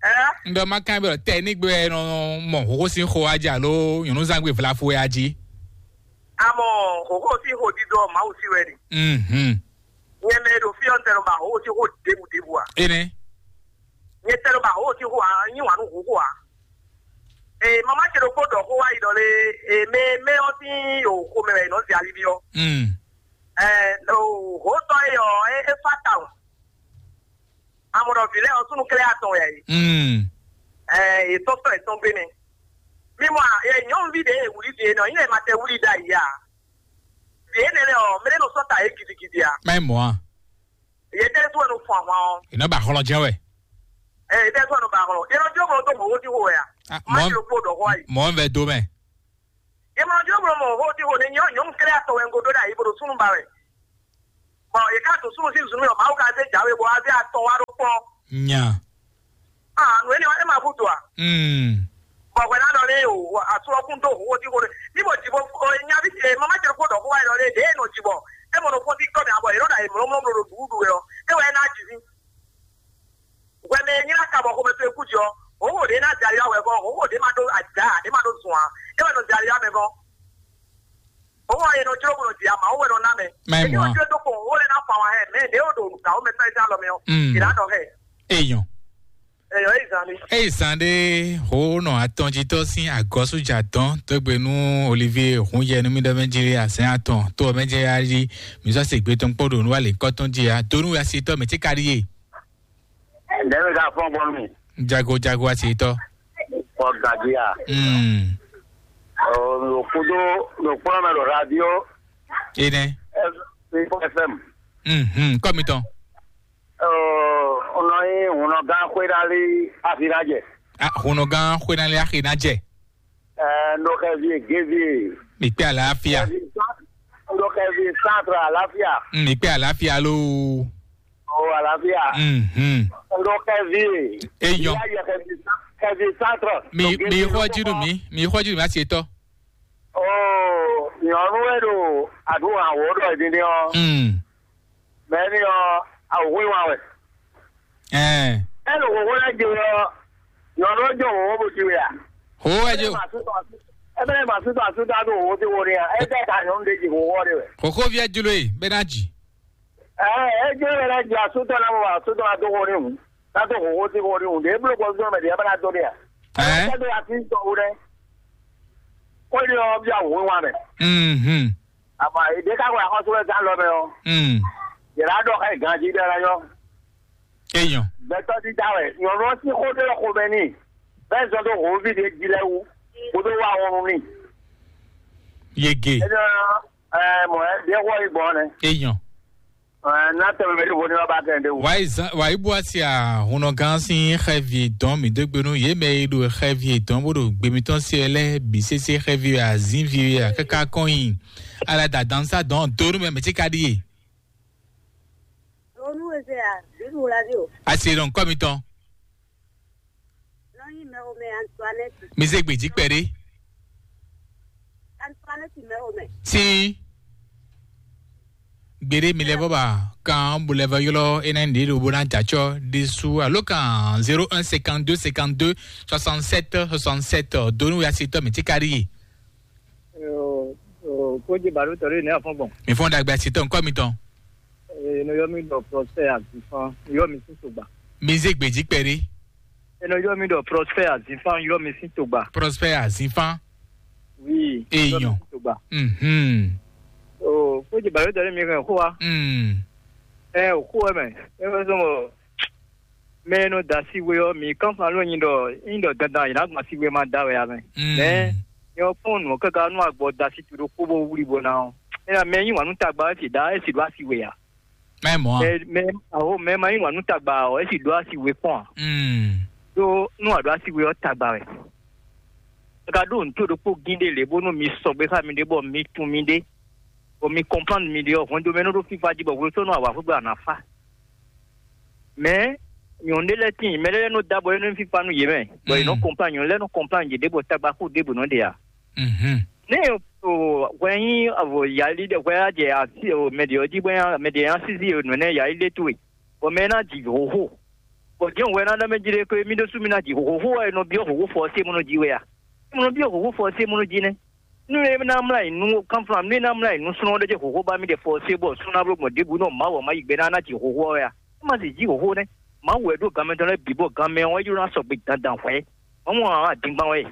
Ɛ. N ɖɔ ma kan bɛ tɛ ní gbé nɔ mɔ hoho sin xo adzi alo nyɔnu zangbe vlafo ya dzi. Amɔ hoho si ho dido Mawu si wɛ ni. Mhm. Nyɛ mɛ ɖo fi ɔn tɛ nɔ ba hoho si ho debu debu a. Ene. Nyɛ tɛ nɔ ba hoho si ho a nyi wanu hoho a. Ee mama ce ɖokpó ɖɔ xó wá yi ɖɔ lé ee mɛ mɛ ɔ́ sín o xomɛ wɛ nɔ zi alibi ɔ́. Mm. Ɛɛ o ho tɔ e ɔ e e fa ta o. Amɔ ɖɔ vǐ lɛ́ɛ ɔ́ súnnu klɛ́ atɔn wɛ ɛ. Mm. Ɛɛ e tɔ́ sɔ etɔn gbe nɛ. Mi mɔ a e nyɔ̌nuví ɖě e wlí vǐ e nɔ nyí lɛ ma tɛ wlí ɖ'ayǐ a. Vǐ énɛ́ lɛ́ɛ ɔ́ mɛ ɖé nɔ sɔ́ ta yě gidigidi a. Má yi mɔ̌ a? Yě tɛ́ tó ɛnu fun ahwan ɔ́. È nɔ ba hlɔn jɛ wɛ. Ɛ yě tɛ́ tó ɛnu ba hlɔn. Yě nɔ jó mɔ tó mɔ wó tí xo wɛ a. Ah, má mɔ- ti ɖo kpó ɖɔ xó ayi. Mɔ vɛ do mɛ. Yě mɔ jó mɔ mɔ wó tí xo ne nyɔ nyɔ̌nu kɛ́lẹ́ atɔ wɛ ŋgo ɖó ɖ'ayǐ bó ɖo súnnu ba wɛ. Bɔn yě ká to súnnu sín zun mɛ ɔ́, Mawu ka zé jǎwe bɔ wá zé atɔ wá ɖó kpɔ́. Nya. Ah, nǔ énɛ́ ɔ́, é ma húzú ǎ. Mm. Bɔ hwɛ ná ɖɔ lé o, asu ɔ́ kún dó hǒxo díxo ɖé. Ní mo jǐ bo nyaví ce, mama ce kó ɖɔ xó wá ɖɔ lé, ɖě e nɔ jǐ bɔ é mɔ nɔ fɔ́n sí kɔ́ mɛ abɔ yě nɔ ɖo ayǐ mlɔ́mlɔ́ ɖo ɖuɖu wɛ ɔ́, é wɛ é ná jǐ fí. Hwɛ mɛ e nylá ka bɔ xomɛ towe kú jǐ ɔ́, hǒxo ɖě ná jɛ ali wá wɛ gɔ́, hǒxo ɖě ma ɖó ajǎ, ɖě ma ɖó zun ǎ, é wɛ nɔ jɛ ali wá mɛ gɔ́. Owó ɔ́, è nɔ jló bó nɔ jǐ ama, owó wɛ nɔ ná mɛ. Má nyí mɔ̌ a? Èmi ò jló dó kpɔn, owó lɛ́ ná fa wǎn hɛ, mɛ ɖě ó ɖo gǎ ó mɛ tɔn é dó alɔ mɛ ɔ́, Mm. È nǎ nɔ hɛ. Èèyàn. Èèyàn é zan mi. Eyi zan ɖe ho nɔ atɔnjitɔ sín agɔsújà tɔn tó gbe nú Olivier hun yɛ nú mì ɖɔ mɛ jí asɛn atɔn tó ɔ mɛ jɛ ya jí mì sɔ se gbe tɔn kpɔ ɖo nú alě kɔtɔn jí ya dó nú asitɔ mɛ tí ka ɖi yé. Ɖɛ̌ mi ka fɔ́n gbɔn nú mi? Jago jago asitɔ. Ɔ gadia. Mm. Ɔ, ɖo kudo ɖo kplɔn mɛ ɖo radio. Ene. F M. Mhm. Kɔmitɔn. Ɔ, nɔ yi hunɔ gán xwé ɖali afi na jɛ. Ah, hunɔ gán xwé na li axi na jɛ. Ɛ, ndo xɛ vie gévie. Mi kpé àlàáfíà. Ndo xɛ vie centre àlàáfíà. Mm, mi kpé àlàáfíà loo. O àlàáfíà. Mhm. Ndo xɛ vie. Eyɔn. Ìyá yɛ xɛ vie centre. Mi mi xɔ jinu mi mi xɔ jinu mi asi etɔ. O nyɔnu e ɖo àdúrà wò ɖɔ ìdílé ɔ. Mm. Mɛ ni ɔ, awòwé wa wɛ. Ɛɛ. Ɛ ɖo wòwó lɛ jɛ ɔ, nyɔnu ɔ jɔ wòwó bó ti wɛ a? Ho wɛ jo. Ɛ bɛ ma su ta su ta do wòwó ti wo ni a? Ɛ bɛ ka nyɔnu de ji wòwó de wɛ. Koko via jlo e bɛ na ji. Ɛɛ, ɛ jɛ wɛ lɛ ji asu tɔ na mo asu tɔ na do wo ni hu. Na do wòwó ti wo ni hu. De eblo kɔ zɔn mɛ de ɛ bɛ na do ni a? Ɛɛ. Ɛ do asi tɔ wo dɛ. Ko ni ɔ bi awòwé wa mɛ. Mhm. Àmọ́ èdè ká wà kọ́sọ́ ẹ̀ sá lọ mẹ́ ọ́. Mm. Yẹ̀rá dọ̀ ká ìgànjí dẹ́ lẹ́yọ́. Eyàn. Bẹ́tọ́ dídá wẹ̀, nyɔ̀nù ọ́ sí xó dé lọ́kọ mẹ́ ní. Bẹ́ẹ̀ sọ tó hòó fìdí jí lẹ́ wú, kó tó wá wọn nù ní. Yege. Ẹ jọ ẹ mọ̀ ẹ́, bí ẹ wọ́ ìgbọ́n ni. Eyàn. Ẹ ná tẹ̀lé mi ní wo ní wọ́n bá kẹ́ ẹ̀ dé wò. Wàyí zan wàyí bó a sì à hùnà gan sí xɛvi dɔn mi dó gbénu yé mɛ yi ɖo xɛvi dɔn bó ɖo gbémitɔn sí ɛ lɛ bí sésé xɛvi azínvi a káká kɔn yi. Ala da dan sa dɔn donu mɛ mɛ tí ka ɖi yé. Onu eze a, bíbí wla dé o. Asi ɖɔn kɔmitɔn. Nɔ nyi mɛxomɛ Antoinette. Mi zé gbèjì kpɛɖé. Antoinette mɛxomɛ. Sí. Gbèɖé mi lɛ bɔ ba kan bó lɛ vɔ ylɔ énɛ ní ɖo bó ná jàtsɔ ɖésú alo kan zéro un cinquante deux cinquante deux soixante sept soixante sept donu ya si tɔ mi tí ka ɖi yé. Kódzi bàdó tɔ̀rí ní àfọ́gbọ̀n. Mi fɔn dàgbà si tɔ nkɔ mi tɔn. Nɔ yɔ mi ɖɔ Prosper Azifan, yɔ mi sín togba. Mi zé gbèjì kpɛɖé. Nɔ yɔ mi ɖɔ Prosper Azifan, yɔ mi sín togba. Prosper Azifan. Oui. Eyɔn. Yɔ mi sín togba. Mhm. O kódzi bàdó tɔ̀rí mi hɛn xó wa. Mm. Ɛ o xó wɛ mɛ. Ɛ wɛ sɔmɔ. Mɛ e nɔ da asi we ɔ́, mi kánflán nú nyi ɖɔ nyi ɖɔ dandan yě ná gbɔn asi we ma da wɛ ǎ mɛ. Mm. Mɛ nyɛ ɔ́ kpɔ́n nǔ ɔ́ káká nú agbɔ da asi to ɖokpó bó wlí bó ná ɔ́. Énɛ́ mɛ nyí wǎn nú tagba wɛ si ɖa é si ɖó asi we ǎ. Mɛ mɔ̌ a? Mɛ mɛ aho mɛ ma nyí wǎn nú tagba ɔ́ é si ɖó asi we kpɔ́n ǎ. Mm. Ɖó nú a ɖó asi we ɔ́ tagba wɛ. Ka ɖó nǔ to ɖokpó gín ɖé lě bónú mi sɔgbe xá miɖée bɔ mi tunwun miɖée, bɔ mi kɔnplánu miɖée ɔ́, hwɛndo mɛ nɔ ɖó fífá jí bɔ hwesónú awǎxwé gbe a nǎ fá. Mɛ̌ nyɔ̌nu ɖé lɛ́ɛ tíin, mɛ lɛ́ɛ nɔ dó abɔ énɛ́ fífá nú yě mɛ, bɔ yě nɔ kɔnplán nyɔ̌nu lɛ́ɛ nɔ kɔnplán yě ɖěbǔ tagbaxú ɖěbǔ nɔ ɖe ǎ. Mhm. Nɛ́ o hwɛ nyí avɔ yali ɖe hwɛ á jɛ asi o mɛ ɖě ɔ́ jí bɔ mɛ ɖě nya sísí o nǔ énɛ́ yali ɖé towe, bɔ mɛ ná ji hǒxo. Bɔ jɛ́n hwɛ ná ɖɔ mɛ jí ɖé ko mì ɖésú mi ná ji hǒxo wɛ è nɔ byɔ́ hǒxo fɔ ɔ́ sé mɔ nɔ ji wɛ a? Mɔ nɔ byɔ́ hǒxo fɔ ɔ́ sé mɔ nɔ ji nɛ́? Nú é ná mlá yi nú kánflán, nú é ná mlá yi nú súnɔ ɖé jɛ hǒxo ba mì ɖe fɔ ɔ́ sé bɔ súnɔ ná bló gbɔn ɖěbǔ nɔ Mawu ɔ́ má yi gbe ná ná ji hǒxo ɔ́ wɛ a? É má sì jí hǒxo nɛ́. Mawu wɛ ɖó gan mɛtɔn lɛ́ɛ bǐ bɔ gan mɛ ɔ́ é jló ná sɔgbe dandan hwɛ̌. Mawu ɔ́ adingban wɛ.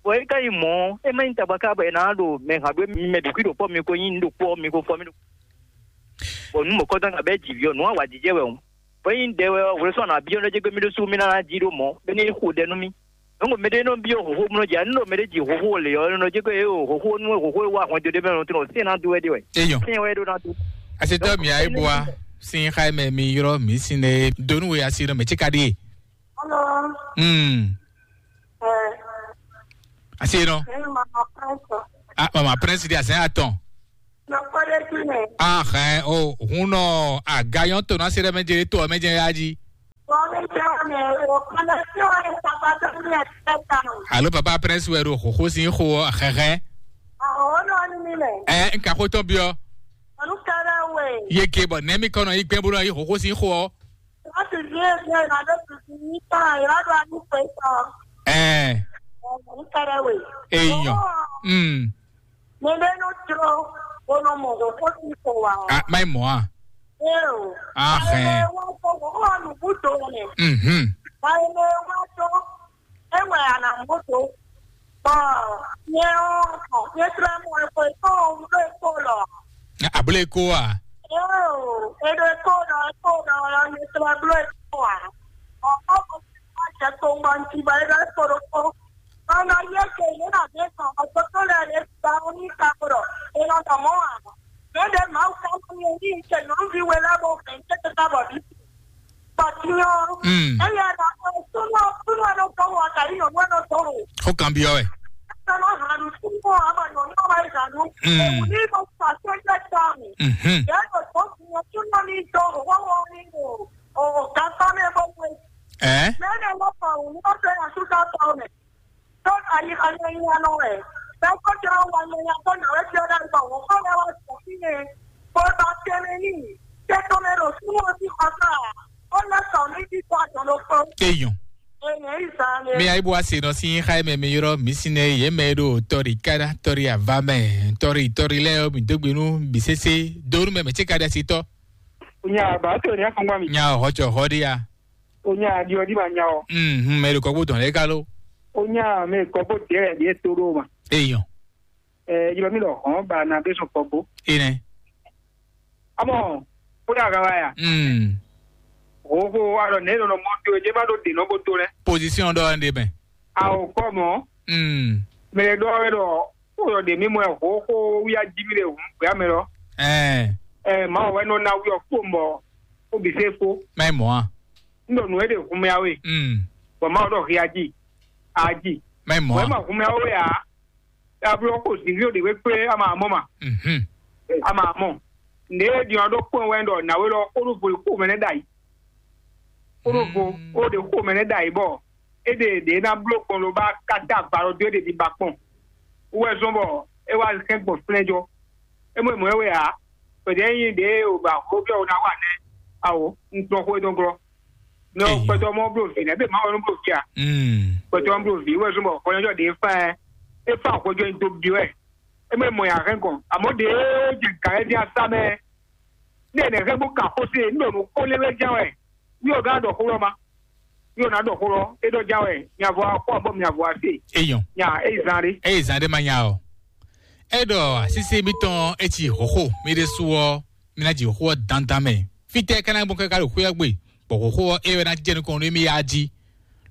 Bɔ é ka nyí mɔ̌ ɔ́, é má nyí tagba ká bɔ è nǎ ɖo mɛ hǎn ɖó mi mɛ ɖo kwí ɖo kpɔ́ mi ko nyí nǔ ɖokpó ɔ́ mi ko fɔ mì ɖo. Bɔ nǔ mɔ̌kɔtɔn kan bɛ́ jǐ vǐ ɔ́, nǔ awǎjijɛ wɛ hǔn. Bɔ ényí ɖɛ wɛ ɔ́, hwlɛ́sɔ́ nǎ byɔ́ nɔ jɛ gbé mì ɖésú mì ná ná jí ɖó mɔ̌, bɔ é ní xo ɖɛ nú mì. Nǔ mɛ ɖé nɔ byɔ́ hǒxo mlɔ́ jí, ǎ nú ɖo mɛ ɖé ji hǒxo lě ɔ́, nɔ jɛ gbé é o hǒxo nú hǒxo e wá hwɛndo ɖé mɛ lɔn tlɔ sɛn ná dó wɛ ɖé wɛ. Eyɔn. Sɛn wɛ ɖó ná dó. Asetɔ mi ayi bua sin xa mɛ mi yrɔ mi sin ne donu we asi nɔ mɛ tsika ɖie. Hello. Hmm. Eh. Asi nɔ. Eh, mama prince. Ah, mama prince di asɛn atɔn. Nɔkpɔɖéjínɛ. Ahɛn o hun nɔ agayɔn to na se ɖe mɛ jɛ to mɛ jɛ ya ji. Bɔmi jɛ mɛ o kɔnɔ tí o yɛ papa tó ní ɛ tɛ ta o. Alo papa prince wɛ ɖo xoxo sin xo hɛhɛ. Awo nɔ ni mi mɛ. Ɛ nka xo tɔn biɔ. Olu kɛrɛ we. Ye ke bɔ nɛ mi kɔnɔ yi gbɛn bolo yi xoxo sin xo. Wọ́n sì ní èmi ìrànlọ́ tuntun ní tán ìrọ́dọ̀ àdúgbò ìtàn. Ɛ Olu kɛrɛ we. Eyɔn. Mm. Mɛ ɖe nɔ jló bó nɔ mɔ hǒxo sín xo wǎ ɔ́. Ah, mai mɔ a? Éo. Ah, hɛn. Wọ́n fọ hǒxo ɔ́ nǔ bú do mɛ. Mhm. Báyìí wọ́n tó ewɛ a nà mɔ tó. Bɔ nyɛ ɔ́, nyɛ tlɛ mɔ eko eko ɖo eko lɔ. Abúlé kó a? Éo, eɖo eko lɔ eko lɔ nyɛ tlɛ bló eko a. Ɔkɔ ko ma jɛ ko Bɔ n ci bɔ é ɖɔ é kpo ɖokpó. Bɔ un nɔ yi égbé yě nɔ ɖě gbɔn, bɔ dotó lɛ́ɛ ɖě gba ɔ́ ní ka kpo ɖɔ è nɔ ɖɔ mɔ̌ ǎ. Mɛ ɖě Mawu ka nɔ nyi ní ce nyɔ̌nuví we lɛ́ɛ bó hɛn céteta bɔ bǐ. Bɔ din ɔ́, Mm. Éyɛ́ ɖɔ súnú súnú ɛ nɔ dó wɔ, kɛ nyí nyɔ̌nu ɛ nɔ dó wɔ. Xó kan byɔ́ wɛ. Ɛ nɔ hɛn nǔ súnú ɔ́, bɔ nyɔ̌nu ɔ́ wá yi hɛn nǔ. Mm. Èwú ní mo fà sɛ́ jẹ́ tɔ́ mi. Mhm. Yě ɖo tó súnú ní dó wɔ, wɔ ní o, o, o, gǎn tɔ́ mɛ bó wɛ. Ɛ? Mɛ ɖě wɔ fà wǔ ní ó fẹ́ yà súsá tɔ́ mɛ. Tó ayi anyanya nɔ wɛ. Bɛ́ kó jɛ wá nyanya tó nà wɛ jɛ ɖe gbɔ wò kó lɛ wá sɔ fínɛ́. Bó ba tɛnɛ ní. Tɛ tɔn mɛ ɖo súnmọ́ sí xɔsá. Ó lɛ sɔ ní bí kó àtọ̀ ló kpɔ́n. Eyɔn. Èyàn ìzà lè. Mi ayi bó wá se nɔ sí xá mɛ mi yrɔ mi si nɛ yé mɛ ɖo tɔri kada tɔri ava mɛ tɔri tɔri lɛ mi dógbenu bisese donu mɛ mɛ tse kada si tɔ. Nya ba to nya kɔngba mi. Nya hɔtsɔ hɔɖia. O nya adi ɔdi ma nya o. Mhm, mɛ ɖo kɔkpo dɔn lɛ kalo. O nya mɛ kɔkpo dɛ ɖe to ɖo ma. Eyɔn. Ɛ yɔ mi lɔ hɔn ba na be sɔn kɔkpo. Enɛ. Amɔ o da ga wa ya. Mm. O ko wa lɔ ne lɔ mɔ to je ma do de nɔ bo to lɛ. Position dɔ de mɛ. A o kɔ mɔ. Mm. Mɛ dɔ wɛ dɔ o yɔ de mi mɔ ho ko wi a ji mi de hu ya mɛ lɔ. Ɛ. Ɛ ma wɛ nɔ na wi ɔ ko mɔ o bi se ko. Mɛ mɔ a. N ɖɔ nǔ e ɖe hun mɛ awe. Mm. Bɔ Mawu ɖɔ hia ji, a ji. Mɛ mɔ. Wɛ ma hun mɛ awe a. Ablɔ ko zǐnglí ɖe wé kplé ama mɔ ma. Mhm. Ama mɔ. Nde e ɖiɔ ɖo kpɔn wɛ ɖɔ nawe lɔ kó ɖo vo ko mɛ nɛ ɖ'ayi. Kó ɖo vo Mm. Kó ɖe ko mɛ nɛ ɖ'ayi bɔ e ɖe ɖe ná bló kpɔn ló ba kata agba lɔ dó e ɖe ɖi ba kpɔn. Wɛ zɔn bɔ e wá hɛn gbɔn flɛ́jɔ. E mɔ e mɔ e wɛ a. Pɛtɛ nyi ɖe o ba xó fia o ná wa nɛ. Awo, un tɔn xó e dɔn glɔ. Mɛ Eyi. Kpɛtɔ mɔ blo vi nɛ be ma wɛ nɔ blo vi a. Mm. Kpɛtɔ mɔ blo vi wɛ zɔn bɔ xɔnyɔjɔ ɖe fa ɛ. E fa xɔjɔ nyi do bi wɛ. E mɛ mɔ ya hɛn kɔn. Amɔ ɖe jɛ gǎ ɛ di asa mɛ. Ne ne hɛn bó ka xó se, ne ɖo nǔ xó lé wɛ jɛ wɛ. Mi ò gán ɖɔ xó lɔ ma. Mi ò ná ɖɔ xó lɔ. E ɖɔ jɛ wɛ. Nya vɔ akɔ bɔ nya vɔ ase. Eyɔn. Nya e zan ɖe. Eye zan ɖe ma nya o. E ɖɔ asísí mitɔn e ci xóxó mi ɖe su ɔ, mi ná ji xó ɔ́ dandan mɛ. Fítɛ́ ka ná gbɔn káká ɖo xwé ɔ́ gbe, bɔ xóxó ɔ́ é wɛ ná jɛ nukɔn nú mì yá jí,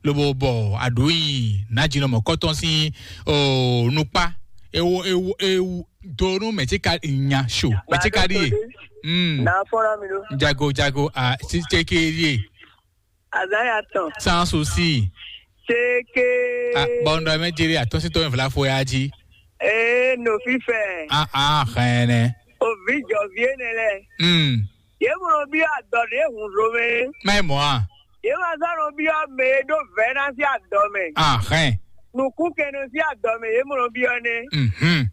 lobo bɔ aɖǔ nyi nǎjínɔ mɔ̌kɔtɔn sín oo nukpá. Ewo ewo ewu do nú mɛ̌ tí ka nya so, mɛ̌ tí ka ɖíe. Mm. Na fɔ́n ná mi ɖó. Jago jago a títí ké ɖíe. Azaya tɔn. Sans aussi. Teke. A bɔndɔ mɛ jere atɔsitɔ mɛ vlafo ya ji. Ee, no fifɛ. A a xɛnɛ. Ovi jɔvi ene lɛ. Hmm. Ye mlɔ bi adɔ ɖe hun zomɛ. Mɛ mɔ a. Ye ma zan nɔ bi ɔ mɛ e ɖo vɛ na si adɔ mɛ. A xɛn. Nukun kɛnɛ si adɔ mɛ ye mlɔ bi ɔ nɛ. Mhm.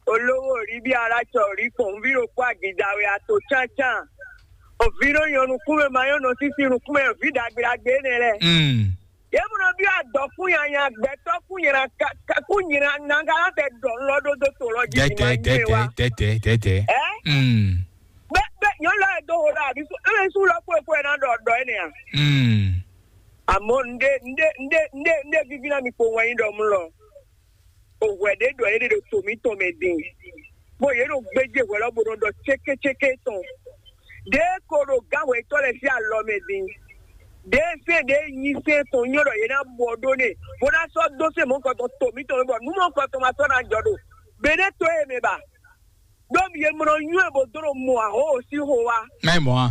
Olówó rí bí alátsɔ rí kpɔn ví ɖokpó agida wɛ ato tsántsán. Òví ɖó nyɔ nukúnmɛ ma nyɔ nɔ sísí nukúnmɛ òví ɖagbe ɖagbe énɛ́ lɛ́ɛ. Mm. Yě mɔ nɔ byɔ́ adɔkún nyanya gbɛtɔ́ kún nyina kún nyina nanga tɛ ɖɔ lɔ ɖó dó to lɔ jí Dɛtɛ ma nyɛ dɛtɛ wa. Dɛtɛ dɛtɛ. Ɛ? Mm. Bɛ bɛ nyɔ lɔ yɛ do ho ɖo abi su ebe su lɔ kpó ekpó yɛ na ɖɔ ɖɔ énɛ́ a. Mm. Àmọ́ ndé ndé ndé ndé ndé víví ná mi kpo wɛn yí ɖɔ mú lɔ. Òhwɛ ɖé ɖɔ yě ɖe ɖo to mǐtɔn mɛ din, bɔ yě ɖo gbéjé hwɛ lɔ bó nɔ ɖɔ cékécéké tɔn. Ɖě ko ɖo gǎnhwɛtɔ́ lɛ́ɛ sín alɔ mɛ din. Ɖě sɛ́n ɖě nyi sɛ́n tɔn nyɔ́ ɖɔ yě ná bɔ ɖó n'i, bó ná sɔ́ dó sɛ́n mɔ̌hunkɔtɔn to mǐtɔn mɛ, bɔ nǔ mɔ̌hunkɔtɔn ma sɔ́ ná jɔ ɖo gbeɖé to e mɛ ba. Ɖó mi e mlɔ nywɛ́ bó dó ɖo mɔ ahoo sín xo wá. Mɛ mɔ a.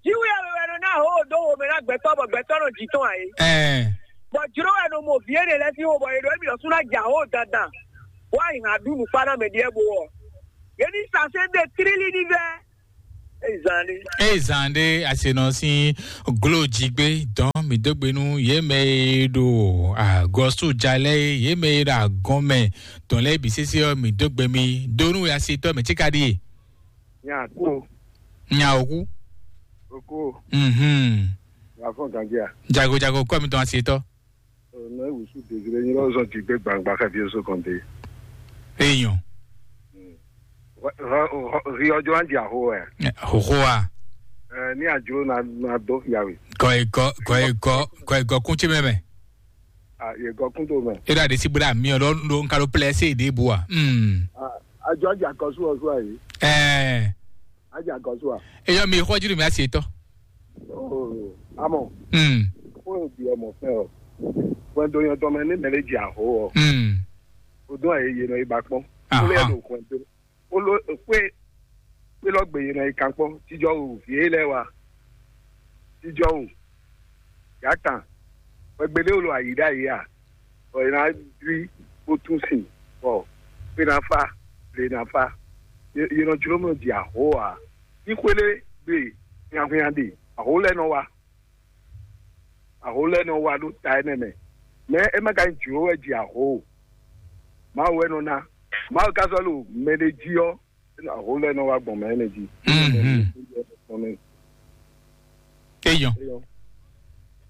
Jiwu ya wɛ nɔ ná ahoo dó wo mɛ ná gbɛtɔ́ bɔ gbɛtɔ́ nɔ jǐ tɔn ǎ é. Ɛɛ. Bɔ jló wɛ nɔ mɔ vǐ énɛ́ lɛ́ɛ sín xo bɔ è ɖɔ émí ɖɔ sú ná jɛ ahoo dandan. Wá yi hǎn ɖu nǔkpá ná mɛ ɖíe bó ɔ. Yě ní sasɛ́ ɖe tlílí ní vɛ́. Ezan ɖé. Eye zan ɖé asenɔ sín glo jigbe dɔn mi dó gbe nú yě mɛ e ɖo agɔsújalɛ yě mɛ e ɖo agɔn mɛ dɔn lɛ́ɛ bǐ sésé ɔ́ mi dó gbe mi dó nú asetɔ mɛ tíka ɖíe. Nya kú. Nya òkú. Òkú. Mhm. Wà fún gànjẹ́ à. Jago jago kọ́ mi tɔn asetɔ. Ọ̀nà ìwòsù dèjìlẹ̀ yín lọ́sọ̀ ti gbé gbangba kábíyèsí kan dé. Èèyàn. Rí ọjọ́ á di àhó ẹ̀. Hòhó a. Ẹ ní àjò náà dó yàwé. Kọ ìkọ kọ ìkọ kọ ìkọ kún tí mẹ́mẹ́. Yègò kún tó mẹ́. Eré àdé sí búra mi ọ̀dọ́ ló ń káló pẹ́lẹ́ sí èdè ìbò wa. Àjọ àjà kan sú ọ̀ṣun àyè. Ẹ. Àjà kan sú à. Eyọ mi ìkọjú mi á sì tọ́. Àmọ́. Fún ìdí ọmọ fẹ́ ọ. Hwɛndo nyɔtɔn mɛ ní mɛ lɛ́ɛ ji aho ɔ́, Mm. o dún ayé yě nɔ yi ba kpɔ́n. Aha. Ó lé ɖo hwɛndo. Ó ló xwé xwé lɔ gbe yě nɔ yi kan kpɔ́n. Tijɔ wǔ vǐ é lɛ́ɛ wá. Tijɔ wǔ. Yǎ kan. Wɛgbédé wolo ayǐ ɖ'ayǐ a? Bɔ è nǎ dwí bó tún sin, bɔ xwé ná fá, ble ná fá. Yě yě nɔ jló mɔ ji aho ǎ. Ní xwé lé gbe hwinhwan ɖe, aho lɛ́ɛ nɔ wá. Aho lɛ́ɛ nɔ wá ɖó ta énɛ́ mɛ. Mɛ é má ka nyí jlǒ wɛ ji aho o. Mawu wɛ nɔ ná. Mawu ka sɔ́ ɖo mɛɖé jí ɔ́, aho lɛ́ɛ nɔ wá gbɔn mɛ énɛ́ jí. Mhm. Eyɔn. Eyɔn.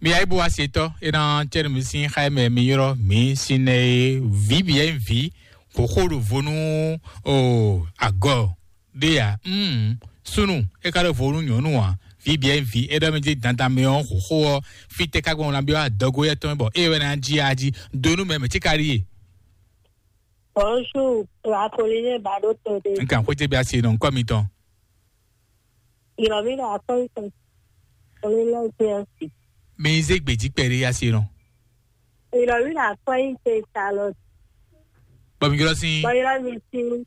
Mi ayibu asetɔ ena cɛnu mi sin xa mɛ mi yɔrɔ mi sin ne vi bi yɛ vi xoxo ɖo vo nú o agɔ ɖe ya. Mm, sunu e ka ɖo vo nú nyɔnu a vi bi yɛ vi e ɖɔ mi di dandan mi ɔ xoxo ɔ fi te ka gbɔn na bi ɔ adɔgo yɛ tɔn bɔ e wɛ na ji a ji donu mɛ mɛ ti ka ɖi ye. Bonjour, Apollinaire Badoto de. N kan xwete bi asi nɔ nkɔ mi tɔn. Ìrọ̀mí là kọ́ ìtàn. Orílẹ̀-èdè ọ̀sìn. Mi zé gbèjì pẹ̀lú asi nɔ. Ìrọ̀mí là kọ́ ìtàn ìsàlọ̀. Bọ̀mí yọrọ sí. Bọ̀yọ̀rọ̀ mi sí.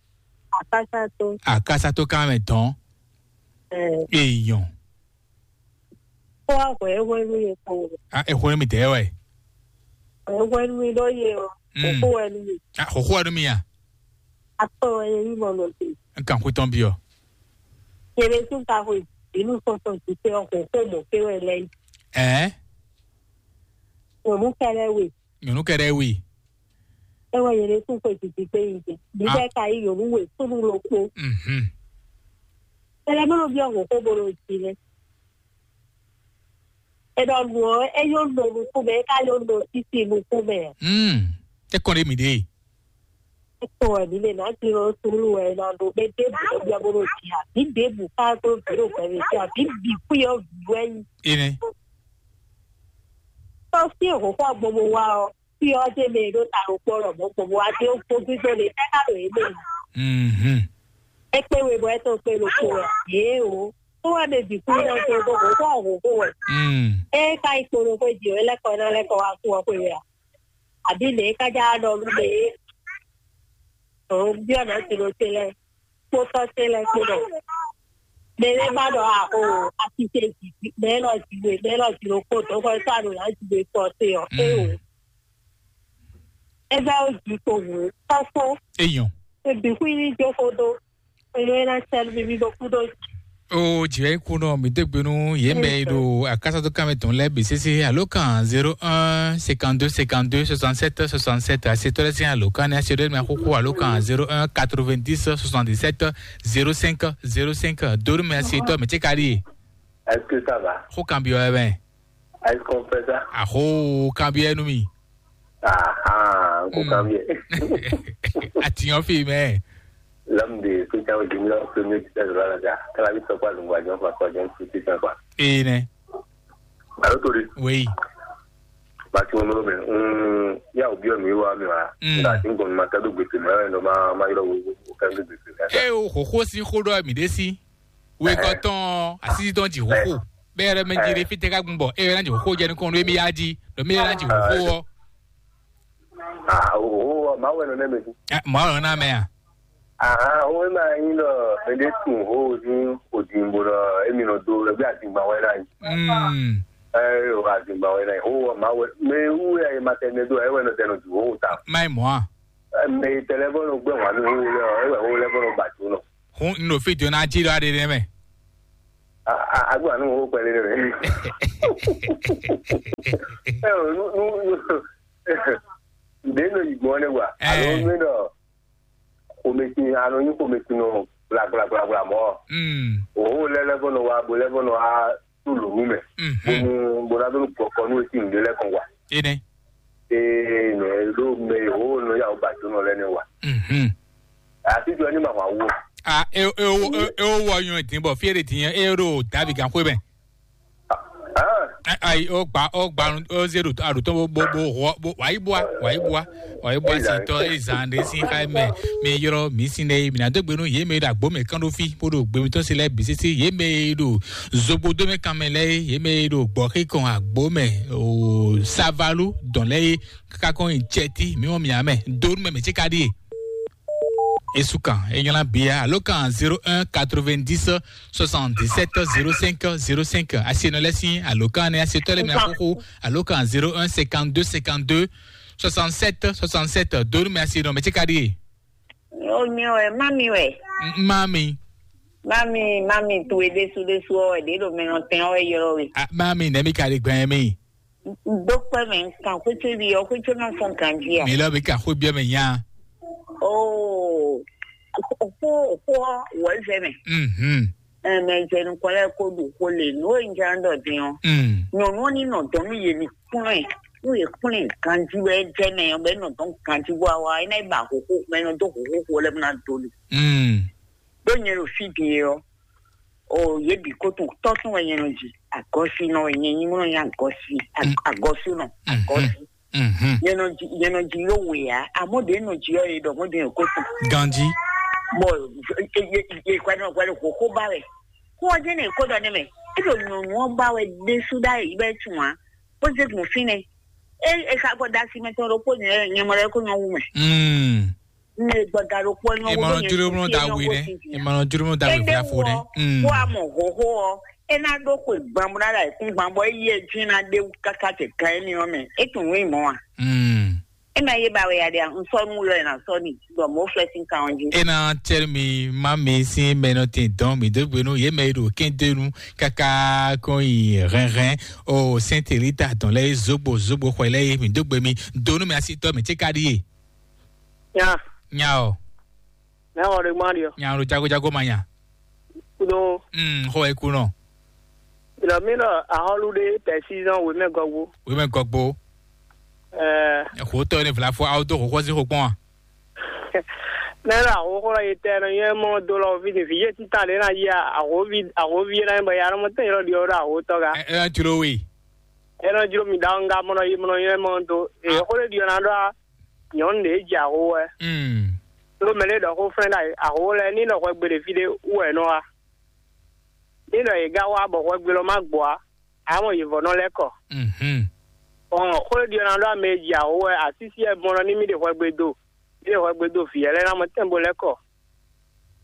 Àkásátó. Àkásátó ká mɛ tán. Ẹ̀. Èèyàn. Kó wá hwẹ́ hwẹ́ nú yẹn kó. A ẹ hwẹ́ mi tẹ́ wẹ̀. Hwẹ́ hwẹ́ nú mi ló yẹ o. Mm. Kókó wẹ́ nú mi. A xɔxɔ wɛ nú mi a? Akpɔ wɛ yẹ yí mɔ nɔ te. N kan xwé tɔn bi ɔ. Yẹlẹ tún ka hwẹ́ inú sɔsɔ ti tẹ ọkọ̀ kó mọ̀ pé wẹ́ lẹ́yìn. Ɛ Ònú kẹlẹ́ wè. Nyɔnu kɛɖɛ wi. Ewɔ yele kún xwe titi kpe yi te. Bíbẹ́ ka yí yòówù wè súnú lókpó. Mhm. Tɛlɛ bó ló bí ọ̀hún kó bó ló jí lé. È nɔ nù ọ́, é yóò nɔ nukún mɛ, é ká yóò nɔ títí nukún mɛ. Mm. Tɛ kɔn ɖe mi ɖe. É kɔ wɛ mǐ lè nǎ jló súnú wɛ è nɔ ɖo mɛ ɖěbǔ ló byɔ́ bó ló jí a? Bǐ ɖěbǔ ká tó bǐ ɖo gbɛmɛ jí a? Bǐ bǐ kwí ɔ́ vǐ wɛ nyí. Ene. Tɔ́ sí èhǒ xɔ gbogbo wa ɔ́, fí ɔ́ dé mɛ e ɖó ta ɖokpó lɔ mɔ̌ gbogbo wa dé gbó gbígbó le tɛ́ ká ɖo yě mɛ. Mhm. É kpé we bɔ é tó kpé ɖokpó wɛ. Yě o. Tó wɛ mɛ bǐ kú ná tó gbogbo kó ɔ̀hún kó wɛ. Mm. É ká yi kpo ɖokpó jí ɔ́, é lɛ́ kɔ ná lɛ́ kɔ wá kú ɔ́ xwe wɛ a? Àbí lě é ká já ɖɔ nú mɛ é? Òun byɔ́ nǎ ti ɖo te lɛ́ɛ. Kpótɔ́ ce lɛ́ɛ kpó ɖɔ mɛ lɛ́ɛ má ɖɔ axo asise jǐ mɛ lɔ jǐwe mɛ lɔ jǐwe kpó dɔ̌nkɔ́ sɔ́ aɖo ná jǐwe kpɔ́ te ɔ́ é o. É bɛ́ ó jǐ kpo hǔn kɔ́fó Eyɔn. Ebǐ xwí ní jó xó dó eye é ná sɛ́ nú mi mì ɖo kú ɖó jǐ. O jìwɛ kú nɔ mi dégbe nú yě mɛ yi ɖo akásátó kámɛ tɔn lɛ bǐ sésé alo kan zéro un cinquante deux cinquante deux soixante sept soixante sept asetɔ lɛ sín alo kan ní asetɔ lɛ mɛ xóxó alo kan zéro un quatre vingt dix soixante dix sept zéro cinq zéro cinq donu mɛ asetɔ mɛ tse ka ɖi. Est-ce que ça va? Xó kan bi wɛ mɛ. Est-ce qu'on fait ça? Axó kan bi wɛ nú mi. Ah ah, ko kan bi. Atiyan fi mɛ. L'homme de soutien au junior premier titulaire de la Lazare. Kala bi sɔkpa zungwa jɔn fa kɔ jɔn fi titulaire quoi. Ee nɛ. Alo tori. Oui. Ba ti mo me. Mm, ya obi o mi wa mi wa. Mm. Nga ti ngon ma ta do gbete ma no ma ma yoro wo wo kan do gbete. E o xoxo si xo ɖɔ mi ɖe si. Wekɔtɔn asisi tɔn ji xoxo. Bɛ yɛrɛ mɛ ji ɖe fi tɛ ka gbun bɔ e yɛrɛ na ji xoxo jɛ nukɔn ɖo emi ya ji ɖo mi yɛrɛ na ji xoxo wɔ. Ah, oh, oh, ma wɛ nɔ nɛ mɛ. Mɔ ɔrɔ na mɛ a. Ah, o ma yin lɔ mɛ de tun ho ni o din bo lɔ emi nɔ do lɛ bi azingba wɛ na yi. Mm. Eh, o azingba wɛ na yi. O ma wɛ mɛ wu ya ma tɛ ne do e wɛ nɔ tɛ nɔ ju ho ta. Mai mɔ a. Mɛ tɛlɛ bɔ nɔ gbɛ wa ni ho lɛ o e wɛ ho lɛ bɔ nɔ ba ju nɔ. Hun n ɖo fi do na ji ɖɔ aɖe ɖe mɛ. Agbo anu wo kpɛlɛ ɖe mɛ. Ɛ o nu nu nu. Ɖe nɔ yi gbɔn ne wa. Alo nu nɔ. Xomɛsin anɔ nyi xomɛsin nɔ gbla gbla gbla gbla mɔ. Mm. O lɛ lɛ bɔ nɔ wa bo lɛ bɔ nɔ wa tu lonu mɛ. Mhm. Bonu bona do gbɔkɔ nu esi nu de lɛ kɔn wa. Ene. Ee nɛ ɖo mɛ o nɔ ya o ba do nɔ lɛ ne wa. Mhm. Àti jɔ ní màmá wo. A e e o e o wɔ yɔn dín bɔ fíyɛ de dín yẹn e ɖo dàbí gan xwé mɛ. Ah, Ayi, ó gba ó gba ó zé ɖo aɖutɔn bó bó bó hɔ bó wàyí bua wàyí bua wàyí bua si tɔ eye zan ɖe si xa mɛ mi yrɔ mi si ɖe mi na dó gbe nú yě mɛ ɖo agbo mɛ kán ɖó fí bó ɖo gbe mitɔn si lɛ bǐ sisi yě mɛ ɖo zogbo dó mɛ kan mɛ lɛ yě mɛ ɖo gbɔ xí kɔn agbo mɛ o savalu dɔn lɛ yé kaka kɔn nyi cɛti mi wɔ mi amɛ dó nú mɛ mɛ tsi ka ɖíe. Esukan enyɔla bia alo kan zéro un quatre-vingt-dix soixante-dix-sept zéro cinq zéro cinq asienɔ lɛ sin alo kan ne asietɔ lɛ mɛ akoko alo kan zéro un cinquante-deux cinquante-deux soixante-sept soixante-sept donu mɛ asienɔ mɛ tsi ka ɖi. O mi wɛ, mami wɛ. Mami. Mami, mami towe ɖésú ɖésú ɔ́ wɛ ɖě ɖo mɛ nɔ tɛn ɔ́ wɛ ylɔ́ we. Ah, mami nɛ mi ka ɖi gbɛn mi. Dókpɛ́ mɛ kan xwétsévi ɔ́ xwétsénɔ fɔ́n ganjí a? Mi lɔ mi ka xwé biɔ mɛ nya. Oo, xó xó ɔ́ wɔ zɛ mɛ. Mhm. Ɛmɛ jɛ nukɔn lɛ ko ɖu xó le nǔ e un jɛ ɖɔ din ɔ́. Mm. Nyɔnu ɔ́ ní nɔ dɔn nú yě ní kplɔ́n ɛ, nú yě kplɔ́n ɛ ganjí wɛ jɛ mɛ ɔ́ bɛ nɔ dɔn ganjí bó wa é ná yi ba xóxó mɛ nɔ dó xóxó xó lɛ bó ná do li. Mm. Ɖó nyɛ ɖo fí din ɔ́, o yě bǐ ko tɔn tɔ́ tɔn wɛ nyɛ nɔ ji agɔ́sínɔ wɛ nyɛ nyí mɔ nyɛ agɔ́sí agɔ́sínɔ agɔ́sí. Nyɛ nɔ ji nyɛ nɔ ji yó wè á amɔ́ ɖě nɔ ji ɔ́ yě ɖɔ mɔ́ ɖě ko tɔn. Ganji. Bɔ yě kwɛdɔ kwɛdɔ xóxó ba wɛ kó ɔ́ jẹ́ nɛ kó ɖɔ nɛ mɛ é ɖo nyɔ̌nu ɔ́ ba wɛ ɖésú ɖ'ayǐ bɛ tún ǎ kó zé gun fínɛ́ é é xa gbɔ da asi mɛ tɔn ɖokpó nyɛ nyɛ mɔ ɖɔ é kó nyɔ wú mɛ. Mm. Ne gbɔda ɖokpó nyɔ wú Emɔnɔ mɛ júlómúnɔ da wí nɛ. Emɔnɔ júlómúnɔ da wí fúláfó nɛ. Kó a mɔ hǒhó ɔ́ é ná ɖó xwe gbambo ná ɖo ayǐkúngban bɔ é yí ɛ dín ná ɖé wú káká tɛ gan émi ɔ́ mɛ é tunwun é mɔ a? Mm. É ma yé ba wɛ ya ɖe a un sɔ nú yɔ ɛ na sɔ ni bɔ mɔ̌ flɛ sín kan ɔ́ jí. E na cɛ́ mi má mi sín mɛ nɔ tin dɔn mi dó gbenu yé mɛ e ɖo kédenu káká kɔn yi hɛnhɛn o sɛnteli ta dɔn lɛ zogbo zogbo xɔ lɛ mi dó gbe mi donu mi asi tɔ mi tsi ka ɖi ye. Ya. Nya o. Mɛ wɔ ɖe gbɔn ɖiɔ. Nya o jagojago ma nya. Kudo. Mm, xɔ e kunɔ. Ilɔ mi lɔ ahɔlu ɖe pɛsizɔn wemɛ gɔgbo. Wemɛ gɔgbo. Ɛɛ. Xotɔ ne vlafo awo do xɔxɔ si xɔ kpɔn a? Mɛ lɔ ahoxɔ lɔ yi tɛ nɔ yɛ mɔ do lɔ fi ni vi yɛ tita le na yi ahovi ahovi yɛ na bɔ ya nɔ mɔ tɛ yɔrɔ ɖiɔ ɖo ahotɔ ga. Ɛ ɛ jlo we. Ɛ nɔ jlo mi da nga mɔ nɔ yi mɔ nɔ yɛ mɔ do. E xɔ le ɖiɔ na ɖɔ a. Nyɔnu ɖě jɛ aho wɛ. Mm. Ɖó mɛ ɖé ɖɔ xó flɛ́n ɖo aho lɛ́ɛ ní nɔ hwɛgbe ɖě fí ɖé wú wɛ nɔ wá. Ní nɔ yě gá wá bɔ hwɛgbe lɔ má gbɔ á, amɔ yě vɔ nɔ lɛ́ kɔ. Mhm. Ɔn xó ɖiɔ ná ɖó ame e ji aho wɛ asísí wɛ mɔ nɔ ní mì ɖe hwɛgbe do. Mì ɖe hwɛgbe do vǐ yɛ lɛ́ɛ ná mɔ tɛn bo lɛ́ kɔ.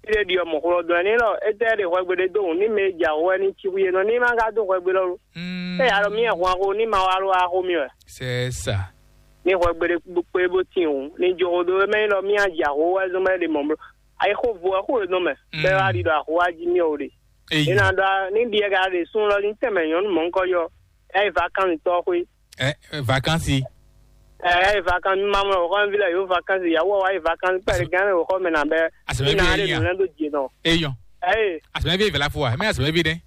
Fí ɖé ɖi ɔ́, mɔ̌ xlɔ́ dɔn ɛ n'i ɖɔ étɛ́ ɖe hwɛgbe ɖé dó wǔ n'i mɛ e jɛ awǒ wɛ ní cí xwí é nɔ ní ma ka dó hwɛgbe lɔ lo. Mm. É ya ɖɔ mì hwan xó ní ma wá ló wá xó mì wɛ. C'est ça. Ní hwɛgbe ɖé kpé bó tín wǔ ní jó xó dó é mɛ nyí ɖɔ mì á jɛ awǒ wɛ zɔn bɔ é ɖe mɔ̌ bló. Ayixo vo wɛ xó e nɔ mɛ bɛ́ wá ɖi ɖɔ awǒ wá jí mì ɔ́ ɖe. Eyi. É ná ɖɔ ní ɖi ɛ ka ɖe sún lɔ ní tɛnmɛ nyɔ̌nu mɔ̌hunkɔ́ yɔ ɛ yi vakansi tɔ́ xwé. Ɛ vakansi. Ɛ ɛ yi vakansi mi ma mɔ wòxɔ mi vi lɛ yǒ vakansi yàwó wa yi vakansi pɛlɛ gán lɛ wòxɔ mɛ nà bɛ. Asɛmɛ mi na vi ɖe yẹn nù lɛ ɖó dzi nɔ. Eyɔn. Ɛyɛ. Asɛmɛ vi vɛlɛ fo wa mɛ asɛmɛ vi ɖe.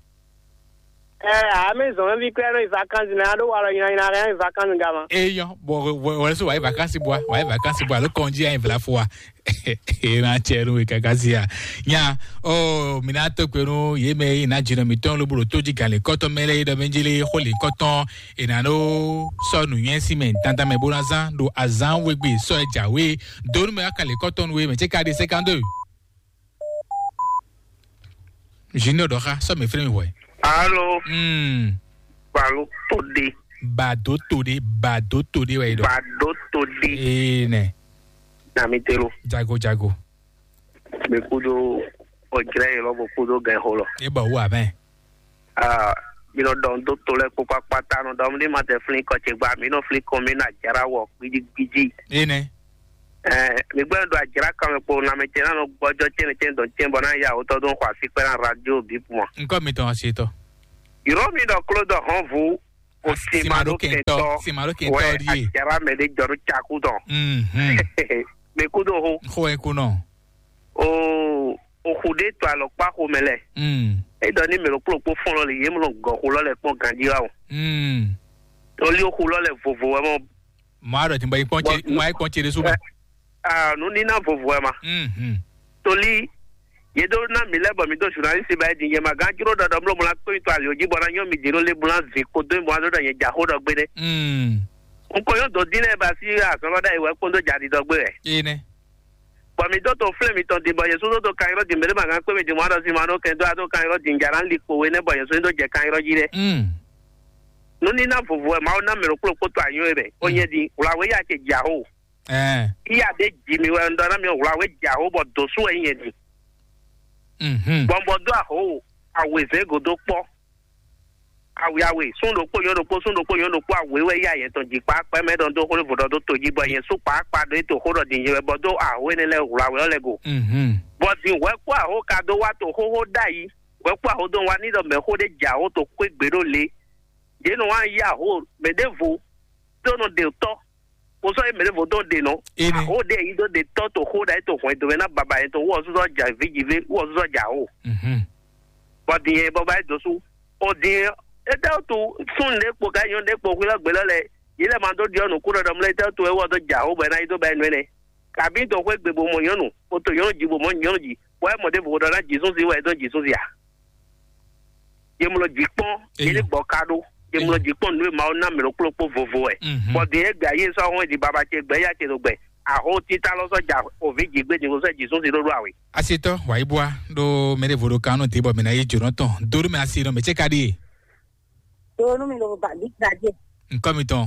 Ɛ ame zɔn mi vi klɛ ɖo yi vakansi nɛ aɖo wa lɔ nyina nyina hɛn yi vakansi gama. Eyɔn bɔ wɛrɛ so wa yi vakansi bua wa yi vakansi bua ló kɔn jí ayi vɛlɛ fo wa. Ena tsɛ nu kaka sia nya o mina to kpe nu ye mɛ yi na dzinɔ mitɔn lobolo to dzi gan le kɔtɔ mɛ lɛ yi dɔ mɛ dzi le xo le kɔtɔ ena no sɔ nu nyɛ si mɛ dandan mɛ bo na zan do azan wegbe sɔ ɛ dza we donu mɛ aka le kɔtɔ nu we mɛ tse ka di cinquante-deux. Junior dɔ xa sɔ mɛ fɛn mi wɔ. Alo. Hmm. Balo to de. Bado to de bado to de wɛ yi dɔ. Bado to de. Ee nɛ. Namitelo. Jago jago. Mɛ kudo ɔjlɛ yi lɔ bo kudo gɛ xo lɔ. E bɔ wu amɛ. Aa mi nɔ dɔn do to lɛ kpokpo akpata nɔ dɔn mi ma tɛ flin kɔ ce gba mi nɔ flin kɔn mi na jara wɔ gbidi gbidi. Ene. Ɛɛ mi gbɛ do ajara kan mɛ kpo na mɛ tɛ na nɔ gbɔjɔ tɛnɛ tɛnɛ dɔn tɛnɛ bɔ na ya wotɔ dɔn xɔ asi kpɛ na radio bi puma. Nkɔ mi tɔn asi tɔ. Yɔrɔ mi dɔ klo dɔ hɔn vu. O simado kentɔ simado kentɔ die. Ajara mɛ de jɔrɔ caku dɔn. Mhm. Mi kudo ho. Xo e kunɔ. O o xu de to alɔkpa xo mɛ lɛ. Mm. E dɔ ni mɛ lo kplo kpo fɔlɔ le ye mlɔ gɔ xo lɔ lɛ kpɔn ganji wa o. Mm. Toli o xu lɔ lɛ vovo wɛ mɔ. Mɔ a dɔ ti bɔ yi kpɔn ce mɔ a yi kpɔn ce de su mɛ. Ah, nu ni na vovo wɛ ma. Mhm. Toli Yě ɖó ná mǐ lɛ́ɛ bɔ mǐ ɖo zunalísi ba é din, yě ma gán jló ɖɔ ɖɔ mló mlá kpé mitɔn ali jí bɔ ná nyɔ́ mǐ din ɖó le mlá vǐ kpódó mì bɔ ná ɖɔ nyɛ jǎxó ɖɔ gbé nɛ́. Un ko nyɔ́ dǒ dín lɛ́ɛ ba sí azɔ̌ lɔ ɖ'ayǐ wɛ kpódó jǎ ɖiɖɔ gbé wɛ. Énɛ́. Bɔ mǐ dó to flɛ́ mitɔn din bɔ yě sú dó to kan ylɔ́ din mɛ ɖé ma gán kpé mì din mɔ ɖɔ sin ma ɖó kɛn dó adó kan ylɔ́ din jà ná li kpo we nɛ́ bɔ yě sú dó jɛ kan ylɔ́ jí ɖé. Un. Nǔníná vovo wɛ Mawu ná mɛ ɖokpó ɖokpó to anyɔ e mɛ. Ó nyɛ din wlǎwé ya ce jǎxó. Ɛɛ. Iya ɖé ji mi wɛ un ɖɔ ná mi wlǎwé jǎxó bɔ dǒ sú wɛ nyɛ din. Mhm. Bɔ un bɔ dó axó awězɛ́n gǒdó kpɔ́. Awe awe, sún ɖokpó nyɔ́ ɖokpó, sún ɖokpó nyɔ́ ɖokpó, awe wɛ yá yɛ tɔn jǐkpá kpɛ́ mɛ ɖɔ dó xó ɖé vodɔ dó to jí bɔ nyɛ sú kpǎkpá ɖó é to xó ɖɔ din nyɛ wɛ bɔ dó axó énɛ́ lɛ́ɛ hwlǎ wɛ ɔ́ lɛ́ɛ go. Mhm. Bɔ din hwɛ kpó axó ka dó wá to xóxó ɖ'ayǐ, hwɛ kpó axó dó wá ní ɖɔ mɛxó ɖé jǎ xó to xwé gbe ɖó lě. Yě nɔ wá yí axó mɛ ɖěvo ɖó nɔ ɖe tɔ́, kpo sɔ́ yí mɛ ɖěvo dó ɖe nɔ. Énɛ́. Axó ɖé yí dó ɖe tɔ́ to xó ɖ'ayǐ to hwɛndo mɛ ná baba yɛ to wú ɔ́ súsɔ ja vǐ ji vǐ wú ɔ́ súsɔ ja xó. Mhm. Bɔ din yɛ bɔ ba yi dǒ sú. O din étɛ́ wútu súnnu ɖé kpo ká nyɔ̌nu ɖé kpo xwilɔ́ gbe lɔ lɛ yě lɛ ma dó ɖiɔ nǔkú ɖɔɖɔ mlɛ́ étɛ́ wútu é wɔ dó ja xó bɔ é ná yi dó ba yi nú énɛ́. Kabí dó xwé gbe bó mɔ nyɔ̌nu, bó to nyɔ̌nu ji bó mɔ nyɔ̌nu ji, bɔ é mɔ ɖěvo ɖɔ ná jǐ súnsi wɛ é dó jǐ súnsi a? Yě mlɔ jǐ kpɔ́n, yě ní Eyɔ. Gbɔ ka ɖó, yě mlɔ Eyɔ. Jǐ kpɔ́n nǔ e Mawu ná mɛ ɖokplɔ́kpó vovo wɛ. Mhm. Bɔ din é gbɛ ayé sɔ́ hɔn di baba ce gbɛ ya ce ɖo gbɛ. Axó títá lɔ sɔ́ ja òví jǐ gbé din sɔ́ jǐ súnsi ɖó ɖó awe. Asitɔ wayibua ɖo mɛ ɖěvo ɖo kan nɔ te bɔ mɛ na yi jǒnɔ tɔn. Do ɖo mɛ asi nɔ mɛ ce ka ɖie. Do nú mi lo ba bi da je. Nkɔ mi tɔn.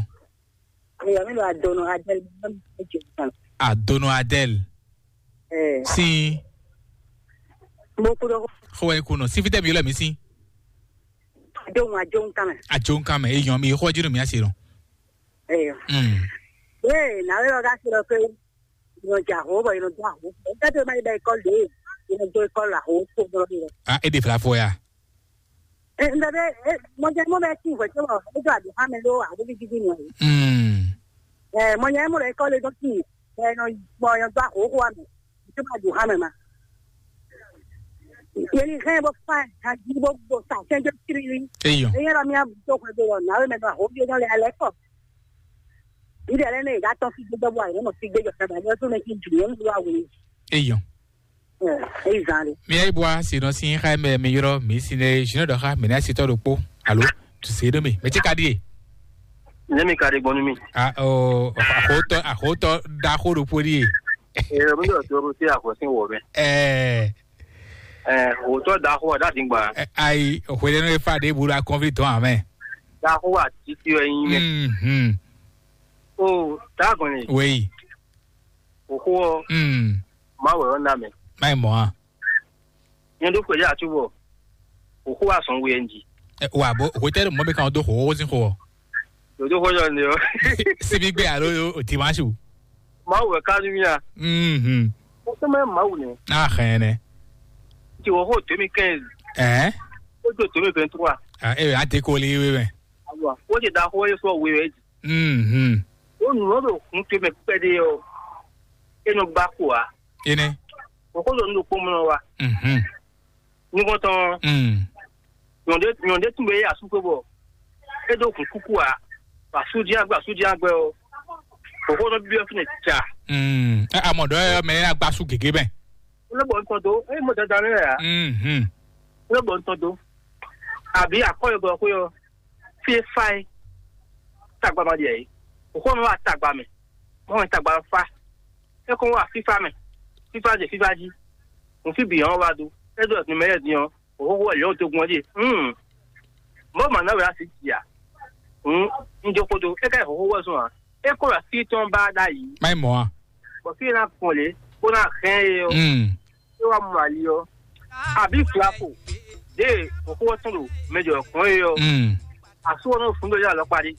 Eyɔ mi lo adono adel mi lo mi je kan. Adono adel. Eh. Sin. Mo kudo. Xo wɛ kunɔ. Si fitɛ mi yɔ lɛ mi sin. Adono ajo kan. Ajo kan mɛ. Eyɔ mi xo jinu mi asi nɔ. Eyɔ. Mm. Ee, na we lɔ ka se lɔ ke. Yɔ ja ho bɔ yɔ ja ho. Ka to ma ba école de. Yɔ do école la ho ko do. Ah, e de fla fo ya. Ɛ, ŋɖɔ ɖe, ɛ, mɔjɛmɔ bɛ tin hwɛ tɔn, e do adu hame ɖo aɖo bi didi nɔ. Mm. Ɛ, mɔjɛmɔ ɖe kɔ le dɔ tin, ɛ, nɔ gbɔ yɔ do ahoho ame, to ma du hame ma. Yeli hɛn bo fa, ha di bo bo sa sɛn jo kiri. Eyɔ. Eyɛ la mi a do hwɛ do lɔ, na we mɛ do ahoho bi nɔ le alɛ kɔ. Yi de le ne ga tɔ fi gbɔ bo ayi, no fi gbɔ jɔ sa ba, ni o to ne ki du, ni o do awe. Eyɔ. Eyi zan ɖe. Mi ayi bua si nɔ sin xa mɛ mi yrɔ mi si ne junior dɔ xa mi na si tɔ ɖokpo. Alo, tu se ɖo mi. Mɛ ti ka ɖi e? Ne mi ka ɖi gbɔnu mi. A o axotɔ axotɔ ɖaxo ɖokpo ɖi e. Ee, mi yɔ toro ti axɔ sin wɔ mɛ. Ɛɛ. Ɛɛ, axotɔ ɖaxo ɖa di gba. Ayi, hwele nɔ efa ɖe bu la kɔnvi tɔn amɛ. Ɖaxo wa titi wɛ nyi mɛ. Mhm. O, ta gɔn ni. Wei. Axo ɔ, Mm. Mawu wɛ ɔ́ ná mɛ. Má yi mɔ a. Nyɛ ɖó xwedí atúbɔ. Axo wa sɔn we ɛ nji. Ɛ, wa bo hotɛli mɔ bɛ kan do xo wo sin xo. Dodo xɔ yɔ ne ɔ. Sibi gbe alo o dimanche. Mawu wɛ ka nú mía. Mhm. O sɛ mɛ Mawu nɛ. A xɛn nɛ. Ti wɔ xo deux mille quinze. Ɛ? O do deux mille vingt-trois. A e a te ko li we mɛ. Awa, o ti da xo e sɔ we wɛ. Mhm. O nǔ ɔ́ ɖo hun ce mɛ kpɛɖé ɔ́, é nɔ gbá ko ǎ. Énɛ́. Bɔ xó ɖo nǔ ɖokpó mlɔ wa. Mhm. Nukɔntɔn, Mm. Nyɔ̌ɖé nyɔ̌ɖé tún bɛ yé asúkwe bɔ é ɖó hun kúkú ǎ. Asújá gbɛ asújá gbɛ ɔ́, bɔ xó nɔ byɔ́ fínɛ ca. Mm. Ɛ, amɔ ɖɔ yɔ mɛ yɛ agba su gègé mɛ. Ó lé bɔ nutɔn dó, é mɔ dandan lé ǎ. Mhm. Ó lé bɔ nutɔn dó. Àbí àkɔyɔgbɔ xwé ɔ́, fí é fá é. Tagba ma ɖi ǎ é. Òxó nɔ wá tagba mɛ. Mɔ wɛ tagba fa. É kɔn wá fífá mɛ. Fífá jɛ fífá jí. Nǔ fí bǐ ɔ́ wá dó. É ɖo nǔmɛ lɛ́ɛ din ɔ́, òxóxó wɛ lě ɔ́ dó gbɔn jí. Hǔn, mɔ̌ ma ná wɛ asi jì a? Hǔn, un jó xó dó. É ka yi hǒxó wɛ zɔn a? É kó wɛ así tɔn ba ɖ'ayǐ. Má yi mɔ a? Bɔ fí e ná gbɔn lě, bó ná hɛn é ɔ́, Mm. É wá mɔ ali ɔ́. Àbí flafo, ɖě òxó ɔ́ tɔn ɖo mɛjɔ kɔn é ɔ́. Mm. Asú ɔ́ nɔ fún ɖó yá lɔ kpaɖí.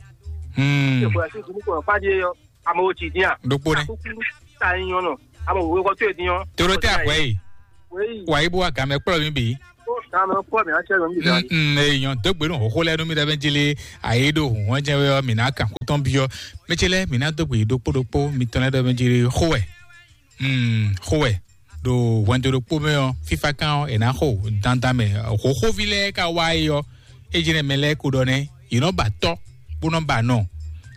Mm. Ìfọ̀ ẹ̀sìn ìdúró kọ̀ọ̀kan kpaɖí é ɔ́. Ame wo tsi dín a? Ɖokpó nɛ. Akúkú ta nyɔ nɔ. Ame wo wékɔ tó e dín ɔ́. Toro tɛ axɔ yi. Wéyi. Wa yi bó wa gamɛ kplɔ mi bì. Ó gamɛ kplɔ mi atsɛ lɔ mi bì. Mm, mm, e nyɔ dogbe nu xoxo lɛ nu mi ɖe bɛ jele ayi ɖo hɔn jɛ wɛ mi na kan kutɔn bi ɔ. Mɛ tse lɛ mi na dogbe ɖokpó ɖokpó mi tɔn lɛ ɖe bɛ jele xo wɛ. Mm, xo wɛ. Ɖo hwɛndo ɖokpó mɛ ɔ, fifa kan ɔ, e na xo dandan mɛ xoxovi lɛ ka wa yi ɔ. E jɛ nɛ mɛ lɛ ko ɖɔ nɛ, yi nɔ ba tɔ, bó nɔ ba nɔ.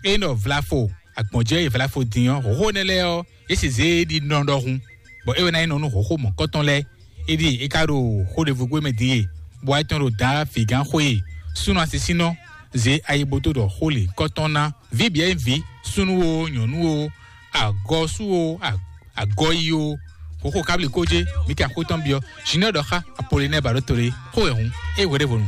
E nɔ vlafo, agbɔnjɛ yi vlafo din ɔ, xoxo nɛ lɛ ɔ, e si zé ɖi nɔ ɖɔhun. Bɔ e wɛ na yi nɔ nu xoxo mɔkɔtɔn lɛ. Éɖíe é ka ɖo xó ɖěvo gbé mɛ din e, bɔ ayetɔn ɖo dǎ vǐgán xwé e súnnu asisínɔ zě ayiboto ɖɔ xó lě kɔ́tɔn ná. Vǐ bǐ e nyí vǐ, súnnu o, nyɔ̌nu o, agɔsú o, a- agɔyi o, xóxó kábli kó jé, mǐ kɛ axó tɔn byɔ́. Zinɔ ɖɔ xá Apolinɛ́ɛ ba ɖó to ɖé, xó wɛ hǔn, é hwe ɖěvo nu.